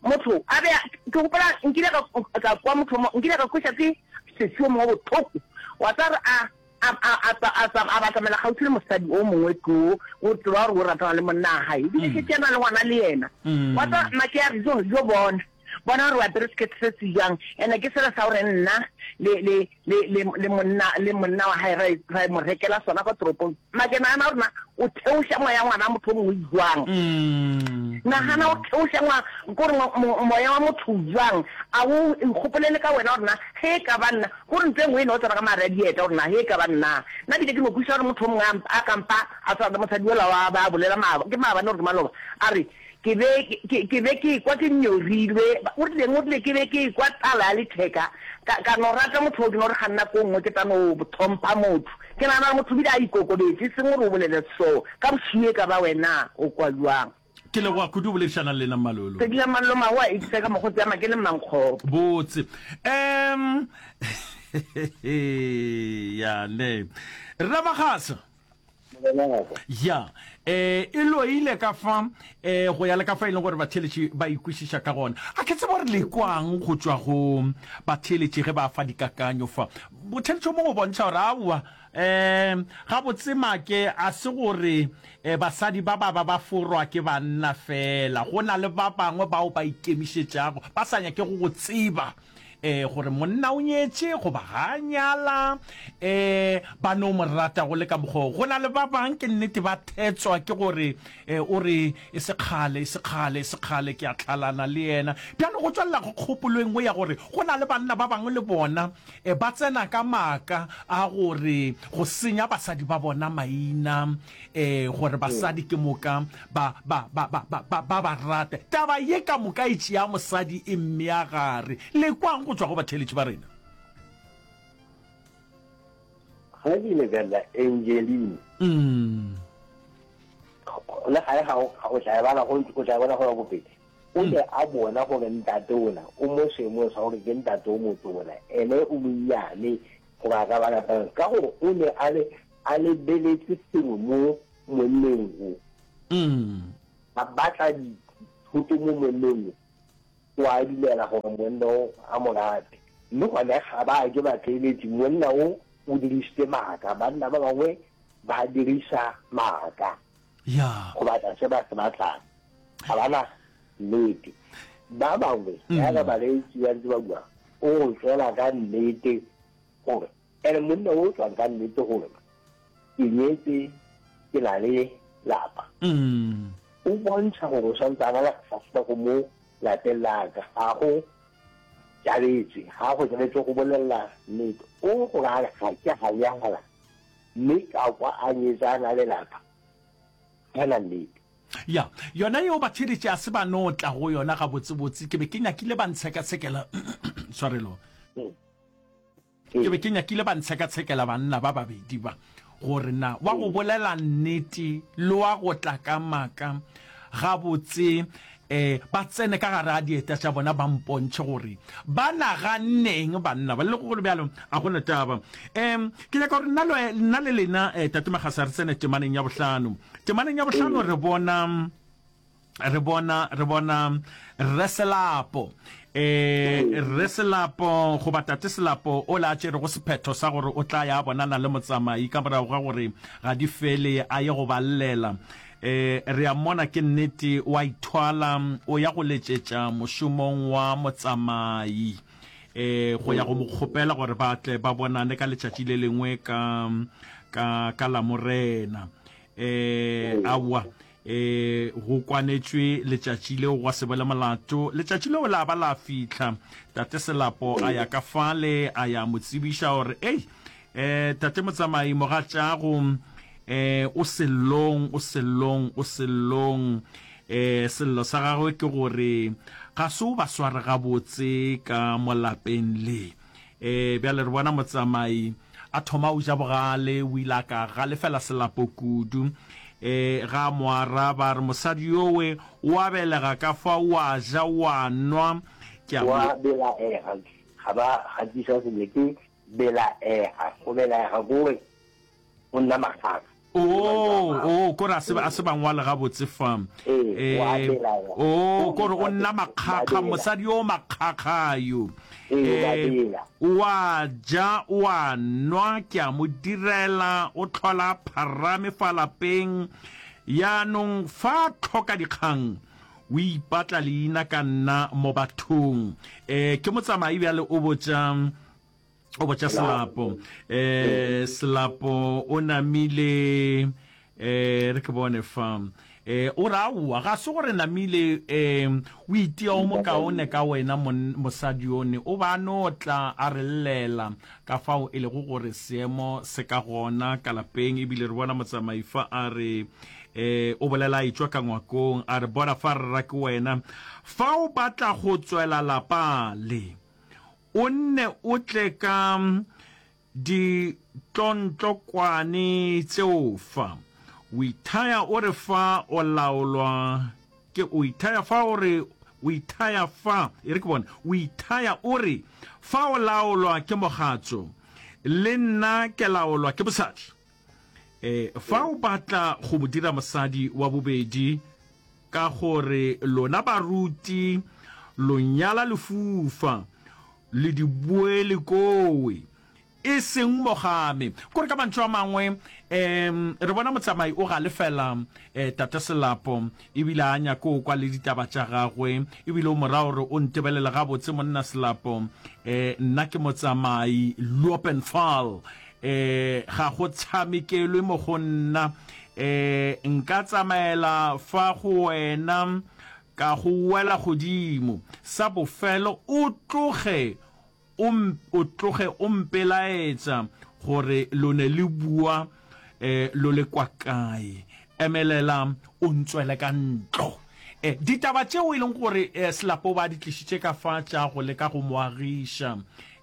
Motho a be a, ke gopola nkile ka, ka kwa motho o nkile ka kweša ke sesi o mongwe bohloko. Wa tseba re a, a, a, a, a, a, a batamela kgauswi le mosadi o mongwe too, o tseba gore o ratana le monna wa gae, ebile šetše a na le ngwana le yena. Wa tseba make a re, jo, jo bona. Bona gore o apere sekete se se jwang. Ene ke sela sa gore nna le, le, le, le, le monna, le monna wa hae ra, ra mo rekela sona kwa toropong. Make nagana gore na o theoša moya ngwana motho o mongwe jwang. Nagana o theoša ngwa, kore moya wa motho jwang. A o ikgopolele ka wena gore na ge e ka ba nna, kore ntho e nngwe e no tsena ka mare a dieta gore na ge e ka ba nna. Nna bile ke no kwešiša gore motho o mongwe a, a kampa a tshwana le mosadi yola wa ba bolela maaba, ke maabane gore ke maloba, a re, Ke be ke, ke be ke ekwa ke nyorilwe. O rileng? O rile, Ke be ke ekwa tlala ya letheka. Ka, ka no rata motho oo, ke no re ga nako e nngwe ke tla no thompha motho. Ke nagana gore motho o bile a ikokobetše, e seng gore o bolele so. Ka bošego e ka ba wena o kwa bjang? Ke leboga kudu go boledišana le lena, Mmalolo. Sedila Mallo Magoa Ipse ka mokgotsi ya Makele Mmankgopo. Botse. Um, ya ne. Rra Magasa. Ya, e, e loile ka fa, e, go ya le ka fa e leng gore batheeletši ba ikwešiša ka gona. A ke tsebe gore le kwang go tšwa go batheeletši ge ba fa dikakanyo fa. Motheeletši o mongwe o bontšha gore aowa, um, gabotse make a se gore e, basadi ba ba ba ba forwa ke banna fela, go na le ba bangwe bao ba ikemišetšago, ba sa nyakego go tseba. um gore monna o nyetše goba ga a nyala, um ba no mo rata go le ka mokgwa wo. Go na le ba bang ke nnete ba thetswa ke gore um o re e se kgale, e se kgale, e se kgale ke a tlhalana le yena. Bjale go tšwelela go kgopolo e nngwe ya gore go na le banna ba bangwe le bona um ba tsena ka maaka a gore go senya basadi ba bona maina, um gore basadi ke moka ba, ba, ba, ba, ba, ba, ba ba rate. Taba ye ka moka e tšea mosadi e mmea gare. Le kwang go tšwa go batheeletši ba rena? Ge ke lebelela Angeline, mm. le gale ga o tla e bala go o tla e bona go ya ko pele. O ne a bona gore ntate ona o mo seemong sa gore ke ntate o motona, ene o monnyane gore a ka ba ka ka gore o ne a le a lebeletse sengwe mo monneng o. A batla dithoto mo monneng o, o a dumela gore monna o a mo rate. Mme gone ga ba ke ba theeletše, monna o o dirišitše maaka. Banna ba bangwe ba diriša maaka go batla se ba se batlang. Ga ba na nnete. Ba bangwe, jaaka bareetsi ba ntse ba bua, o go tswela ka nnete gore Ene monna o tswang ka nnete gore ke nyetse ke na le lapa. O bontsha gore o santse a na le kgahlego mo lapeng la ka. Ga go tšabetse, ga go tšabetse go bolelela nnete. O gore a re ga ke a nyala mme ka kwa a nyetse a na le lapa, ga na nnete. Ya, yona yeo batheeletši a se ba no tla go yona gabotsebotse. Ke be ke nyakile ba ntshekatshekela, tshwarelo. Ke be ke nyakile ba ntshekatshekela banna ba babedi ba, gore na wa go bolela nnete le wa go tla ka maaka gabotse um ba tsene ka gare ga dieta tša bona ba mpontšhe gore ba naganneng banna ba. Le go le bjalo, a go na taba. Um ke nyaka gore nna le, nna le lena, um Tate Magasa, re tsene temaneng ya bohlano. Temaneng ya bohlano re bona. Re bona, re bona Rre Selapo. E, Rre Selapo, goba Tate Selapo, o la tšerego sephetho sa gore o tla ya a bonana le motsamai ka morago ga gore ga di fele a ye go ba llela. E, re a mmona ke nnete o a ithwala, o ya go letšetša mošomong wa motsamai, e, go ya go mo kgopela gore ba tle ba bonane ka letšatši le lengwe ka, ka, ka Lamorena. E, aowa. E, go kwanetšwe letšatši leo gwa se be le molato. Letšatši leo la ba la fihla. Tate Selapo a ya ka fale, a ya mo tsebiša gore, Ei, e, Tate Motsamai, mogatšago, e, o sellong, o sellong, o sellong. E, sello sa gagwe ke gore ga se o ba sware gabotse ka mo lapeng le. Ee, bjale re bona motsamai a thoma o ja bogale, o ile a ka galefela Selapo kudu. Ee, ga a mo araba a re, Mosadi yowe o a belega ka fa, o a ja, o a nwa, ke a mo. Wa belaega, ga ba gatiša sentle, ke belaega, go belaega ke gore o nna makgakga. Oo, oo, kore a se, a se ba ngwale gabotse fa. Ee, o a Eh, belaela. oo, O kore o mosadi nna o makgakga, bela. mosadi yo makgakga yo. Ee, o a Eh, bela. o a ja, o a nwa, ke a mo direla, o hlola a pharame fa lapeng. Yaanong fa a hloka dikgang, o ipatla leina ka nna mo bathong. Eh, ke motsamai bjale o botša o botša Selapo. Eh, Selapo o namile, eh, re ke bone fa. Eh, o re aowa, ga se gore namile, eh, o itia o mokaone ka wena mon, mosadi one. O ba no tla a re llela ka fao e lego gore seemo se ka gona ka lapeng. Ebile re bona motsamai fa a re, eh, o bolela a etšwa ka ngwakong, a re bona fa rra ke wena. Fa o batla go tswela lapa le. O nne o tle ka ditlontlokwane tšeo fa. O ithaya o re fa o laolwa ke, o ithaya fa o re, o ithaya fa, e re ke bone, o ithaya o re fa o laolwa ke mogatšo, le nna ke laolwa ke mosadi. E, fa o batla go mo dira mosadi wa bobedi, ka gore lona baruti lo nyala lefufa, le di boele kowe. E seng mo ga me. Kore ka mantšu a mangwe, um re bona motsamai o galefela um Tate Selapo, ebile a nyake o kwa le ditaba tša gagwe, ebile o mo ra gore o ntebelele gabotse monna Selapo, um nna ke motsamai, Lopenfal, um ga go tshamekelwe mo go nna, um nka tsamaela fa go wena ka go wela godimo, sa bofelo o tloge O, o tloge o mpelaetša gore lo ne le bua eh, lo le kwa kae. Emelela o ntswele ka ntlo. Eh, ditaba tšeo e leng gore eh, Selapo ba di tlišitše ka fa tša go leka go mo agiša,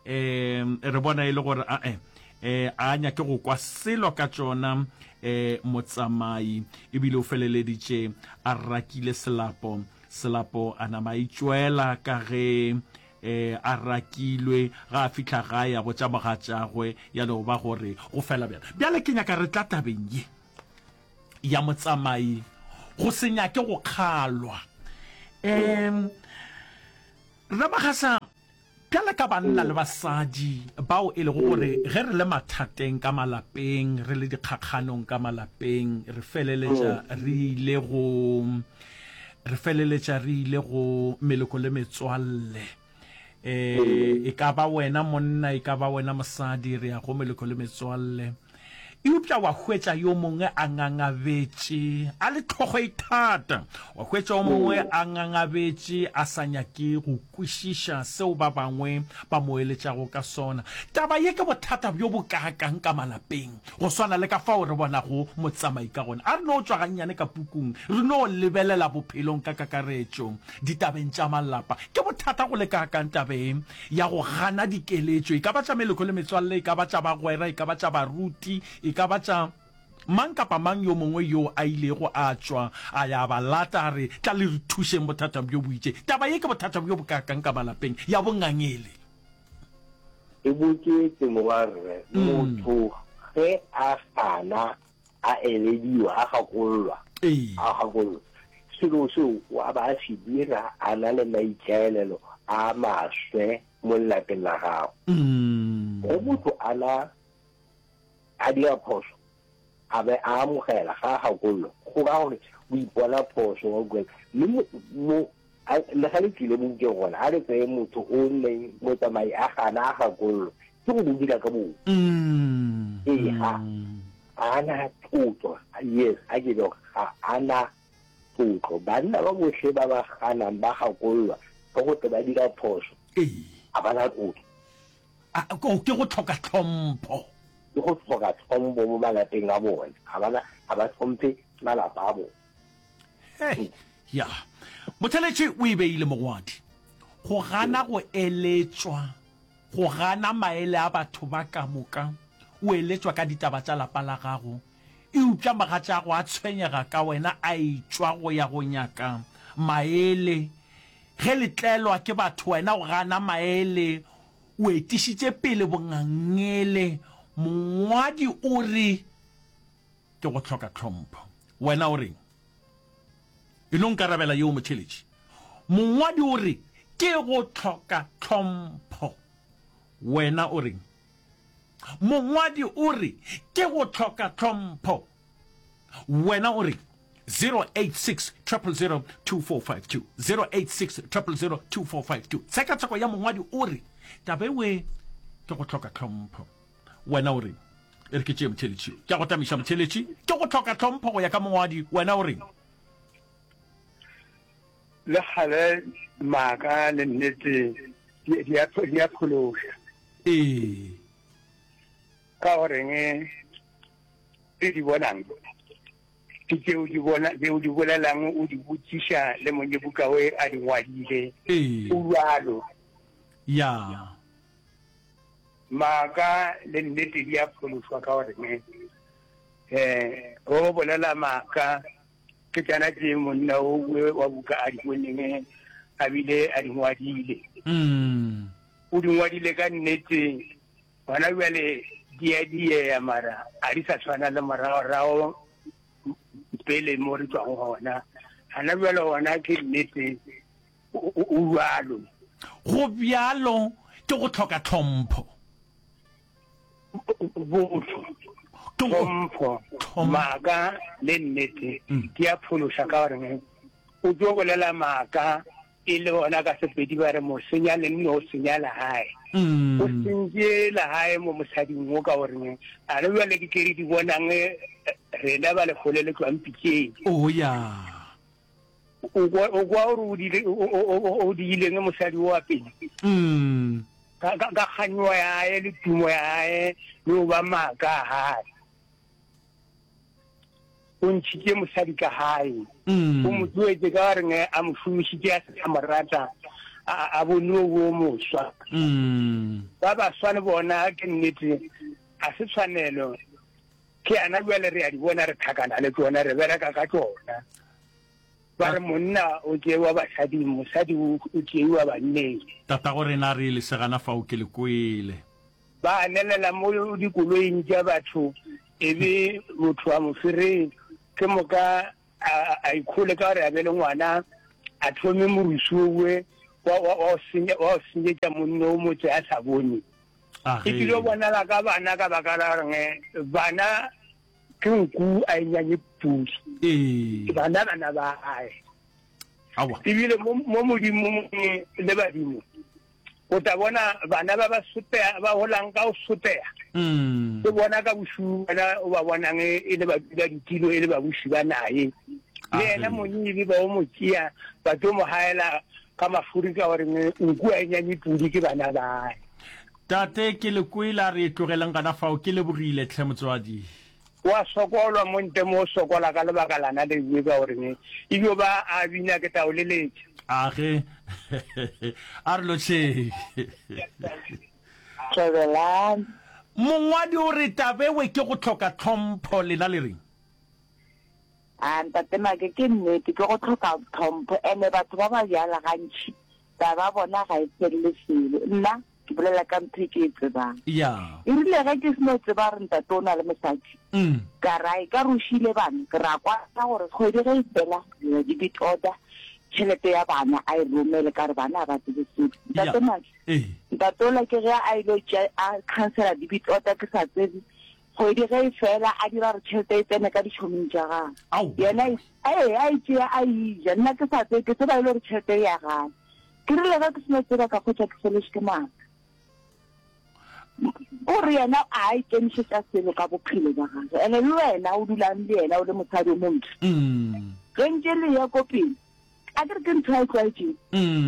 eh, re bona e le gore ae, eh, a nyake go kwa selo ka tšona eh, motsamai, ebile o feleleditše a rakile Selapo. Selapo a nama a itšwela ka ge E, a rakilwe, ga a fihla gae a botša mogatšagwe, ya no ba gore go fela bjalo. Bjale ke nyaka re tla tabeng ye ya motsamai go se nyake go kgalwa. Um, Ramagasa, bjale ka banna le basadi bao e lego gore ge re le mathateng ka malapeng, re le dikgakganong ka malapeng, re feleletša re ile go Re feleletša re ile go meloko le metswalle. E, e ka ba wena monna, e ka ba wena mosadi, re ya go meloko le metswalle. Eupša wa hwetša yo mongwe a ngangabetše, a le tlhogo e thata. Wa hwetša yo mongwe a ngangabetše, a sa nyake go kwešiša seo ba bangwe ba mo eletšago ka sona. Taba ye ke bothata bjo bokaakang ka malapeng. Go swana le ka fao re bonago motsamai ka gona. A re no tšwa gannyane ka pukung, re no lebelela bophelong ka kakaretšo, ditabeng tša malapa. Ke bothata go le kaakang tabeng ya go gana dikeletšo, e ka ba tša meloko le metswalle, e ka ba tša bagwera, e ka ba tša baruti, e ka ba tša mang kapa mang yo mongwe yoo a ilego a tšwa a ya ba lata a re, Tla le re thušeng bothata bjo bo itšeng. Taba ye ke bothata bjo bokaakang ka malapeng, ya bongangele. E bokete morwarre, motho ge a gana a elediwa, a gakollwa, a gakollwa, selo seo o a ba a se dira a na le maikaelelo a maswe mo lelapeng la gagwe. Ge motho a na a dira phoso, a be a amogela ga a gakollwa, go ra gore o ipona phoso, wa utlwela. Mme mo A, le ge le tšwile bobukeng gona, a re tseye motho o neng motsamai a gana a gakollwa, ke go bo dira ka boomo. Ee, ga a na tlotlo. Yes, a ke be ga a na tlotlo. Banna ba bohle ba ba ganang ba gakollwa ge go tle ba dira phoso, ga ba na tlotlo. A, ke go hloka tlhompho. Ke go hloka tlhompho mo malapeng a bona. Ga ba na, ga ba hlomphe malapa a bona. Hei, ya. Motheletši o e beile mogwadi. Go gana go eletšwa, go gana maele a batho ba ka moka, o eletšwa ka ditaba tša lapa la gago, eupša mogatšago a tshwenyega ka wena a etšwa go ya go nyaka maele. Ge le tlelwa ke batho wena o gana maele, o etišitše pele bongangele. Mongwadi o re. Ke go hloka tlhompho. Wena o reng? E no nkarabela yeo motheeletši. Mongwadi o re ke go hloka tlhompho. Wena o reng? Mongwadi o re ke go hloka tlhompho. Wena o reng? 086 000 2452 086 000 2452 Tshekatsheko ya mongwadi o re taba ewe ke go hloka tlhompho. Wena o reng? E re ke tšee motheeletši yo. Ke a go tamiša motheeletši. Ke go hloka tlhompho go ya ka mongwadi. Wena o reng? Le kgale maaka le nnete di a di a phološa. Ee. Ka goreng tse di bonang ke tšeo di bona tšeo di bolelang o di botšiša le monyebuka we a di ngwadile. Ee. O bjalo. Ya. Maaka le nnete di a phološwa ka gore ne um go bolela maaka ke tšana tše monna o wa buka a di boneng a bile a di ngwadile. Mm. O di ngwadile ka nnete gona bjale di a diea mara a di sa tshwana le moragorago pele mo re tšwago gona. Gana bjale gona ke nnete O bjalo. Go bjalo ke go hloka tlhompho. Botho, tlhompho, maaka le nnete di a phološa ka gore o tlo bolela maaka e le ona ka Sepedi ba re mo senya lenno o senya legae. O sentše legae mo mosading wo ka gore a re bjale ke tše re di bonang rena ba lehole le tšwang pitšeng. Oh ya. O kwa o kwa gore o dile o diileng mosadi o wa pele. Mm. Ka ka ka kganyogo ya hae le tumo ya hae le go ba maaka a hae. O ntšhitše mosadi ka gae. Mm. O mo tloetše ka gore nge a mo šomišitše a se a mo rata a a bone o bo moswa. Mm. Ba baswa le bona ke nnete a se tshwanelo. Ke yana bjale re a di bona re thakana le tšona re bereka ka tšona. Ba re monna o tšewa basading, mosadi o tšeiwa banneng. Tatago rena re le segana fao ke le kwele. Ba anelela mo dikoloing tša batho e be motho a mo fereng ke moka a a ikhole ka gore a be le ngwana a thome morusu owe wa wa wa go senyetša monna o motse a sa bone. E tlilo bonala ka bana ka baka la gore bana ke nku a e nyanye pudi. Ee. Bana bana ba gae. Aowa. Ebile mo mo modimong le badimo o tla bona bana ba ba soteya ba golang ka go soteya. Mm. Ke bona ka bošuu bana o ba bonang e le ba dula ditilo e le babuši ba naye. Le yena monyebe ba o mo tšea ba tlo mo gaela ka mafuri ka gore nku a e nyanye pudi ke bana bae. Tate ke le kwele a re e tlogeleng gana fao ke lebogile tlhe motswadi. Wa sokolwa mo nte mo o sokola ka lebaka lana le we ka gore ne e dio ba a bina ke tla o leletša. A ge a re lotšheng. Tlogelang. Mongwadi o re tabewe ke go hloka tlhompho lena le reng? A ntate Make ke nnete ke go hloka tlhompho ene batho ba ba bjala gantši taba bona ga e felele selo nna ke bolela ka ntho e ke e tsebang Ya. e rile ge ke seno tseba gore ntate o na le mosadi Mm. ka ra e ka re o šile bana ke ra kwa gore kgwedi ge e fela dira debit order tšhelete ya bana a e romele ka re bana ga ba tsebe selo ntate Make Ee. ntate ola ke ge a ile tšea a cancela debit order ke sa tsebe Kgwedi ge e fela, a dira gore tšhelete e tsene ka ditšhoming tša gagwe. Ao! Yena e, ee, a e tšea a e ja. Nna ke sa tsebe, ke tseba e le gore tšhelete e ya gae. Ke rile ge ke seno tseba ka hwetša ke feletšwe ke maatla. O re yena a a ikemišetša selo ka bophelo bja gagwe. Ene le wena o dulang le yena o le mosadi o montsho. Ge ntše le eya ko pele, A ke re ke ntho a e tlwaetšeng,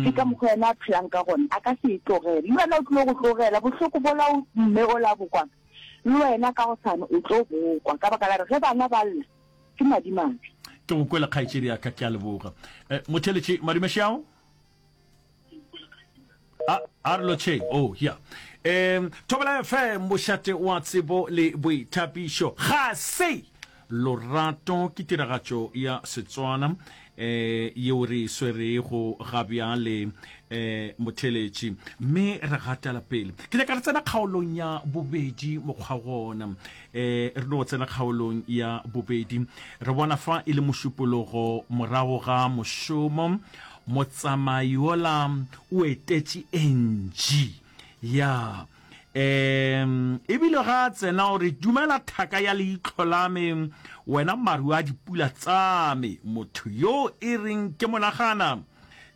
ke ka mokgwa yena a phelang ka gona, a ka se e tlogele. Le wena o tlilo go tlogela, bohloko bola o mme ola bo kwang, le wena ka gosane o tlo bo kwa, ka baka la gore ge bana ba lla, ke madimabe. Ke go kwele kgaetšedi ya ka, ke a leboga. Eh, motheletši, madume šeao? A, a re lotšheng. Oh, ya. Um, Thobela FM, mošate wa tsebo le boithapišo. Ga se lorato ke tiragatšo ya Setswana eh yeo re e swerego ga bjale eh motheletši mme re gatela pele ke nyaka re tsena kgaolong ya bobedi mokgwa gona eh re no tsena kgaolong ya bobedi re bona fa e le mošupologo morago ga mošomo Motsamai yola o etetše Angie. Ya. Um, ebile ga a tsena o re, Dumela thaka ya leihlo la me, wena maru a dipula tsa me, motho yo e reng ke monagana,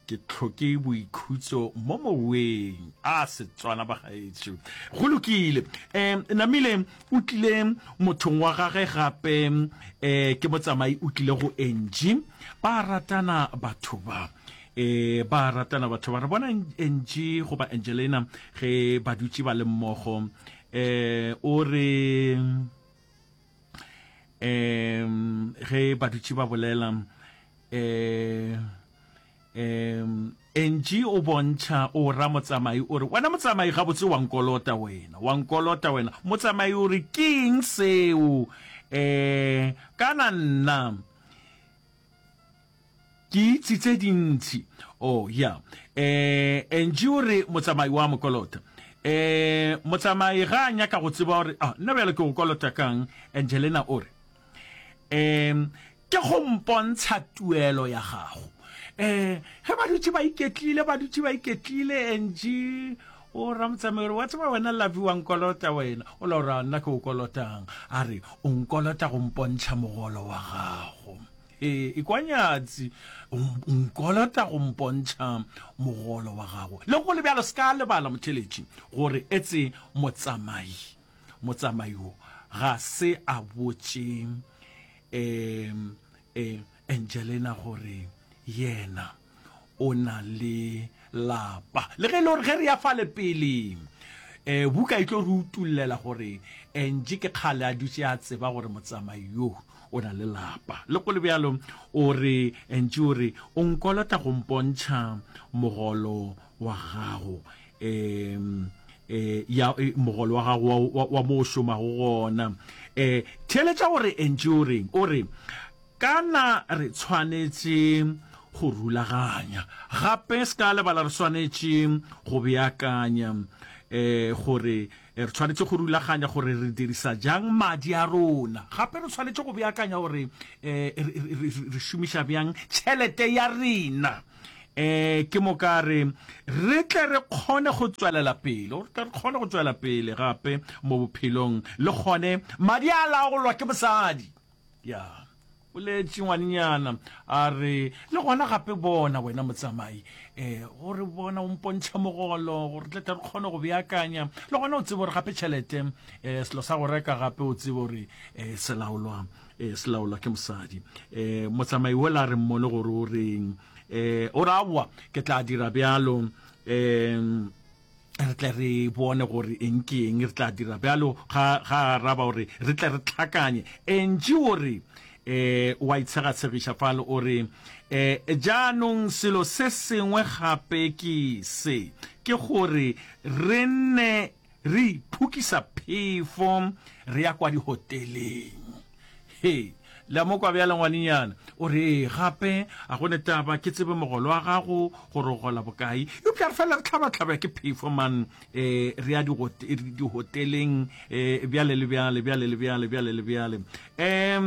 ke hloke boikhutso mo moweng. A Setswana bagaetsho. Go lokile. Um, Namile o tlile mothong wa gage gape, um ke motsamai o tlile go Angie. Ba ratana batho ba. E, ba ratana batho ba. Re bona Angie goba Angelina ge ba dutše ba le mmogo. E, o re um ge ba dutše ba bolela um um Angie o bontšha o ra motsamai o re wena motsamai gabotse wa nkolota wena wa nkolota wena motsamai o re ke eng seo um kana nna Ke itse tse dintši. Oh, ya. Eh, Angie o re motsamai wa mo kolota. Eh, motsamai ga a nyaka go tseba gore, ah, nna bjale ke go kolota kang? Angelina o re, eh, ke go mpontsha tuelo ya gago. Eh, ge ba dutše ba iketlile, ba dutše ba iketlile, Angie. O ramotsamai gore wa tseba wena Lovey wa nkolota wena. O la gore nna ke o kolotang. A re o nkolota go mpontšha mogolo wa gago. He, ekwa nyatsi, o nkolota go mpontšha mogolo wa gago. Le go le bjalo se ka lebala motheletši gore etse motsamai, motsamai wo ga se a botše um, um, Angelina gore yena o na le lapa. Le ge e le gore ge re ya fale pele, um buka e tlo re utollela gore Angie ke kgale a dutše a tseba gore motsamai yo o na le lapa. Le go le bjalo, o re, Angie o re, o nkolota go mpontšha mogolo wa gago, um ya mogolo wa gago wa, wa, wa mo o šomago gona. Um theeletša gore Angie o reng, o re, Kana re tshwanetše go rulaganya. Gape se ka lebala re swanetše go beakanya um gore re tshwanetše go rulaganya gore re dirisa jang madi a rona. Gape re tshwanetše go beakanya gore um re šomiša bjang tšhelete ya rena. Um ke moka re re tle re kgone go tswelela pele, gore tle re kgone go tswela pele gape mo bophelong, le gone madi a laolwa ke mosadi. Ya, boletše ngwanenyana a re, le gona gape bona wena motsamai, um gore bona o mpontšha mogolo gore tle tle re kgone go beakanya, le gona o tsebe gore gape tšhelete um selo sa go reka gape o tsebe gore um se laolwa um se laolwa ke mosadi. Um motsamai wola a re mmone gore o reng, um o re aowa ke tla dira bjalo um re tle re bone gore eng ke eng re tla dira bjalo. Ga ga araba gore re tle re tlhakanye. Angie o re eh wa itshegatshegiša fale o re eh jaanong selo se sengwe gape ke se ke gore re nne re iphokisa phefo re ya kwa dihoteleng. He, le a mo kwa bjale ngwanenyana? O re, Ee, gape a go ne taba ke tsebe mogolo wa gago gore o gola bokae. Eupša re fela re hlabahlabja ke phefo man, e, re ya dihoteleng, e, bjale le bjale, bjale le bjale, bjale le bjale. E,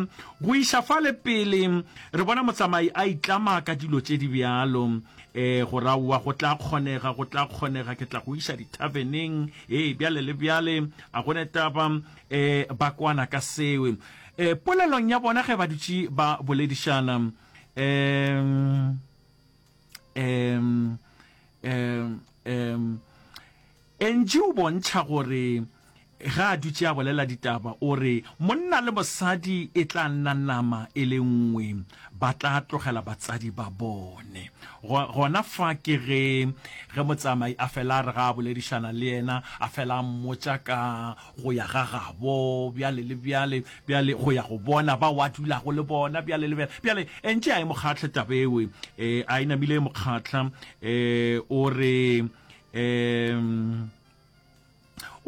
go iša fale pele, re bona motsamai a itlama ka dilo tše di bjalo, e, gore aowa go tla kgonega, go tla kgonega, ke tla go iša dithaveneng, e, bjale le bjale, a go ne taba. E, ba kwana ka seo. E, polelong ya bona ge ba dutše ba boledišana, e, e, e, e, Angie o bontšha gore ge a dutše a bolela ditaba o re monna le mosadi e tla nna nama e le nngwe, ba tla tlogela batsadi ba bone. Go, gona fa ke ge, ge motsamai a fela a re ga a boledišana le yena, a fela a mmotša ka go ya ga gabo bjale le bjale, bjale go ya go bona bao a dulago le bona bjale le bjale. Bjale entše a e mo kgahle taba ewe, e, a e namile e mo kgahla, e, o re, e,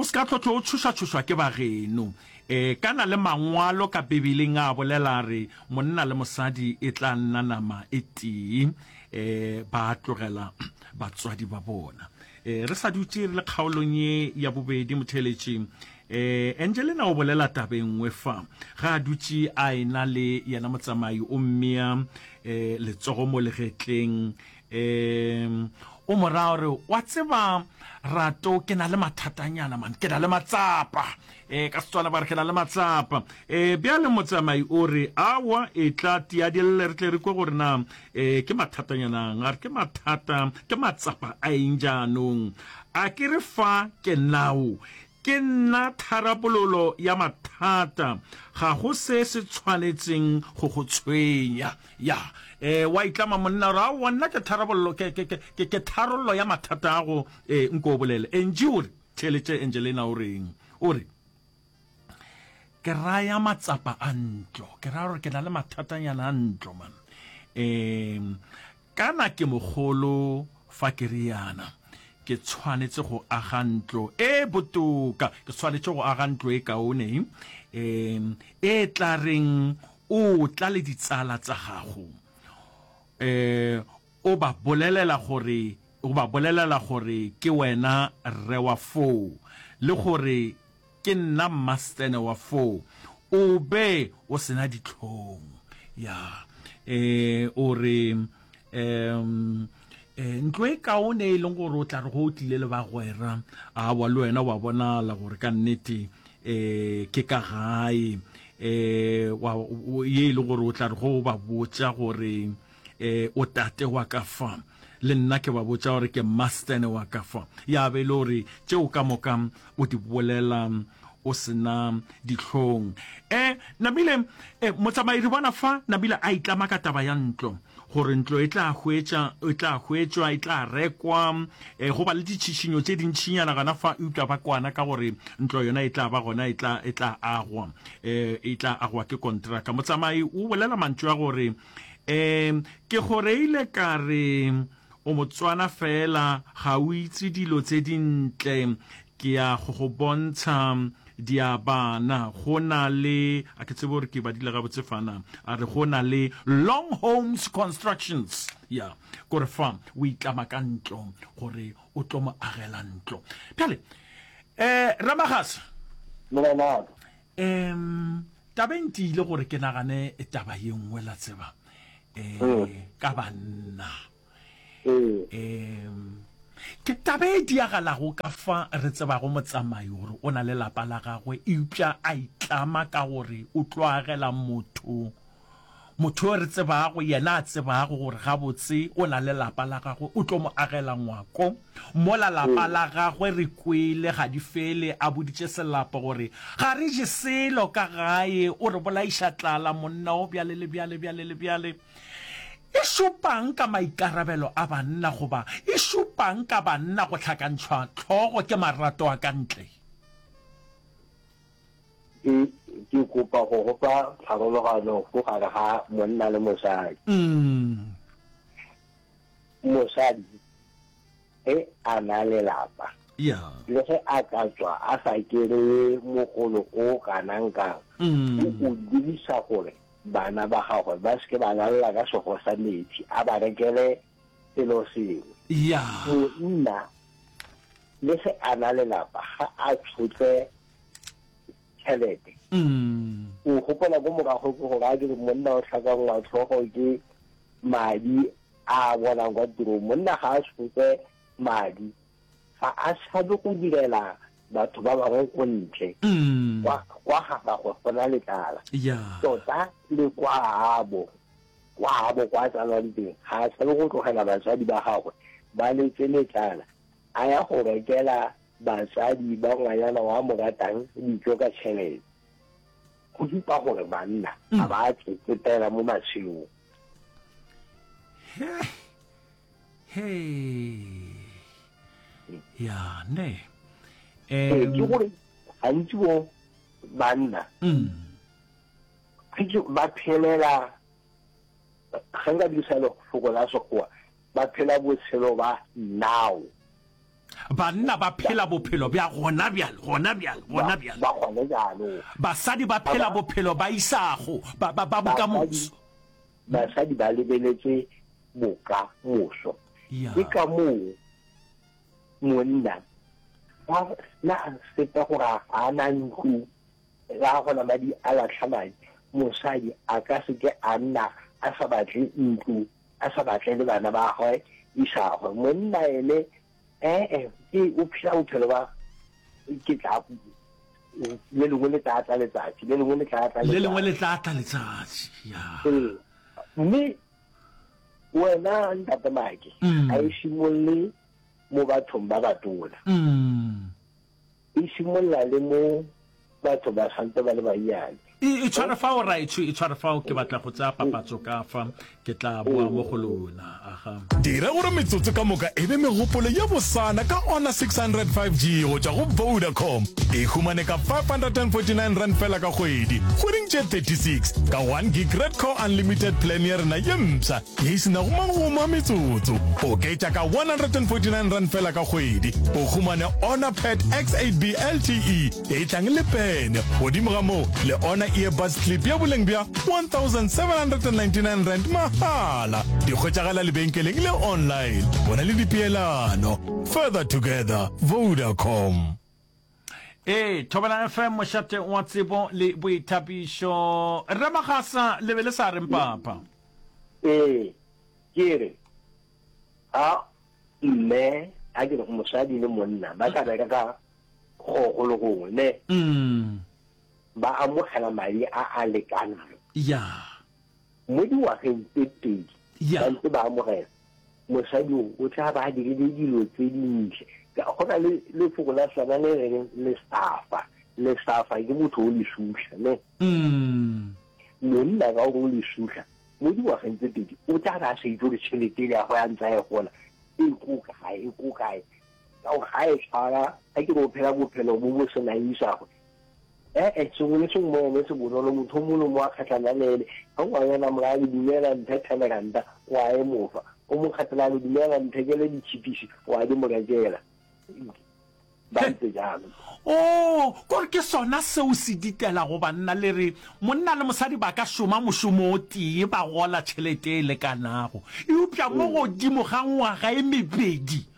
O se ka tlotlo o tšhošatšhošwa ke ba geno. E, kana le Mangwalo ka Bibeleng a bolela a re monna le mosadi e tla nna nama e tee, e, ba tlogela batswadi ba bona. E, re sa dutše re le kgaolong ye ya bobedi, motheeletši, e, Angelina o bolela taba e nngwe fa. Ge a dutše a e-na le yena motsamai o mmea e, letsogo mo legetleng, e, o mo raya gore, Wa tseba, Rato, ke na le mathatanyana man, ke na le matsapa. E, ka Setswana ba re ke na le matsapa. E, bjale motsamai o re, Aowa, etla tia di lle re tle re kwe gore na e, ke mathatanyanang. A re ke mathata, ke matsapa a eng jaanong? A ke re fa ke nao, ke nna tharabololo ya mathata, ga go se se tshwanetseng go go tshwenya. Ya, e, wa itlama monna gore, aowa, nna ke tharabololo, ke, ke, ke, ke, ke tharollo ya mathata ago, e, nko o bolele. Angie o re, theeletše Angelina o reng, o re, Ke raya matsapa a ntlo, ke raya gore ke na le mathatanyana a ntlo, man. E, kana ke mogolo fa ke riana, ke tshwanetse go aga ntlo e botoka, ke tshwanetse go aga ntlo e kaone, e, e tla reng o tla le ditsala tsa gago, e, o ba bolelela gore, o ba bolelela gore ke wena rre wa foo, le gore ke nna mmastene wa foo, o be o se na dihlong. Ya, e, o re, um, Um ntlo e kaone e leng gore o tla re go o tlile le bagwera, awa le wena wa bonala gore ka nnete um ke ka gae. Um wa, ye e leng gore o tla re go o ba botša gore um o tate wa ka fa, le nna ke ba botša gore ke mastene wa ka fa. Ya be e le gore tšeo ka moka o di bolela o se na dihlong. E, namile, e, motsamai re bona fa namile a itlama ka taba ya ntlo, gore ntlo e tla hwetša, e tla hwetšwa, e tla rekwa, e, go ba le ditšhišinyo tše dintšinyana gona fa, eupša ba kwana ka gore ntlo yona e tla ba gona, e tla, e tla agwa, e, e tla agwa ke kontraka. Motsamai o bolela mantšu a gore, e, ke go reile ka re o Motswana fela ga o itse dilo tse dintle, Ke ya go go bontsha diabana. Go na le, a ke tsebe gore ke badile gabotse fa na, a re go na le Long Homes Constructions. Ya, kore fa o itlama ka ntlo gore o tlo mo agela ntlo. Bjale, eh, Ramagasa. Morena wa ka. Em, taba e ntiile gore ke nagane taba ye nngwe la tseba, eh, ka banna. Em, ke taba e diagalago ka fa re tsebago motsamai gore o na le lapa la gagwe, eupša a itlama ka gore o tlo agela motho, motho yo re tsebago, yena a tsebago gore gabotse o na le lapa la gagwe, o tlo mo agela ngwako. Mola lapa la gagwe re kwele ga di fele a boditše Selapo gore ga re je selo ka gae, o re bolaiša tlala monna o bjale le bjale, bjale le bjale. E šupang ka maikarabelo a banna goba e šupang ka banna go hlakantšhwa hlogo ke marato a ka ntle? Ke, ke kopa go go fa pharologano go gare ga monna le mosadi. Mosadi ge a na le lapa, le ge a ka tswa a sa kereye mogolo o kanang-kang, o o dirisa gore bana ba gagwe ba se ke ba lalela ka sego sa metsi, a ba rekele selo sengwe. Monna le ge a na le lapa, ga a tshotle tšhelete. O gopola ko morago ke gore a ke re monna o hlakangwa hlogo ke madi a a bonang kwa tirong. Monna ga a sope madi, ga a tshabe go direla batho ba bangwe ko ntle. Kwa, kwa ga gagwe go na le tlala. Tota le kwa gabo, kwa gabo kwa a tsalwang teng, ga a tshabe go tlogela batswadi ba gagwe ba letse le tlala, a ya go rekela batswadi ba ngwanyana wa mo ratang dijo ka tšhelete. Go supa gore banna ga ba tsetsepela mo matshelong. He, he. Ya, ne. Ee, ke gore gantsi bo banna mm. ba phelela ge nka dirisa lefoko la sekgowa ba phela botshelo ba now banna ba phela bophelo bja gona bjale gona bjale gona bjale ba gone jaanong basadi ba phela bophelo ba isago ba ba ba bokamoso Basadi ba lebeletse bokamoso. Ke ka moo monna ga na sepe gore ga a na ntlo, ga a gona madi a latlha madi. Mosadi a ka se ke a nna a sa batle ntlo, a sa batle le bana ba gagwe isagwe. Monna ene ee, ke o phela bophelo ba ke tla le lengwe le tla tla letsatsi, le lengwe le tla tla Le lengwe le tla tla letsatsi, ya. Ee, mme wena ntate Make, mm. ga e simolole mo bathong ba batona. Mm. E simolola le mo batho ba santse ba le bannyane. E, e tshware fao raetsho, e tshware fao, ke batla go tsaya papatso ka fa, ke tla boa mo go lona. Aga. Dira gore metsotso ka moka e be megopolo ye bosana ka Honor 600 5G go tšwa go Vodacom. E humane ka R549 fela ka kgwedi, kgweding tše 36, ka 1 gig Red Core Unlimited plan ya rena ye mpsha ye e se nago magomo a metsotso. Oketša ka R149 fela ka kgwedi, o humane Honor Pad X8B LTE e tlang le pene. Godimo ga moo, le Honor Earbuds Clip ya boleng bja R1799 mahala. Di hwetšagala lebenkeleng le online. Bona le dipeelano. Further together, Vodacom. Ee, Thobela FM, mošate wa tsebo le boithabišo. Rre Magasa, le be le sa reng papa? Ee, ke re, ga. Mme, a ke re, mosadi le monna ba ka bereka ka go go le gongwe, ne? Ba amogela madi a a lekanang. Ya. Mo dingwageng tse 20 Ya. ba ntse ba amogela, mosadi o o tla ba a dirile dilo tse dintle. Go na le lefoko la Setswana le reng lesafa. Lesafa ke motho o lesuhla, ne? Monna ka gore o lesuhla, mo dingwageng tse 20 o tla ba a sa itse gore tšhelete ele ya gagwe a ntse a e gola e ko kae, e ko kae. Ka gore ga e tshwara, ga ke re o phela bophelo bo bo senang isagwe. E-e, sengwe le sengwe mo ene se bonolo, motho o mongwe le mongwe a kgatlhana le ene, ge ngwanyana a mo raya a re dumela mphe ten ranta, o a e mo fa, o mo kgatlhela a re dumela nthekele ditšhipisi, o a di mo rekela. Ba ntse jalo. Oo, kore ke sona seo se ditelago banna, le re monna le mosadi ba ka šoma mošomo o tee ba gola tšhelete e lekanago, eupša mo godimo ga ngwaga e mebedi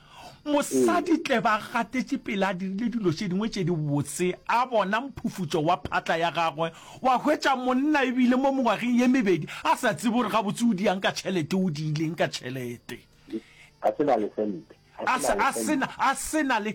Mosadi tle ba gatetše pele a dirile dilo tše dingwe tše dibotse, a bona mphufutšo wa phatla ya gagwe, wa hwetša monna ebile mo mengwageng ye mebedi a sa tsebe gore gabotse o diang ka tšhelete, o diileng ka tšhelete. A se na le sente. A se, a se na, a se na le.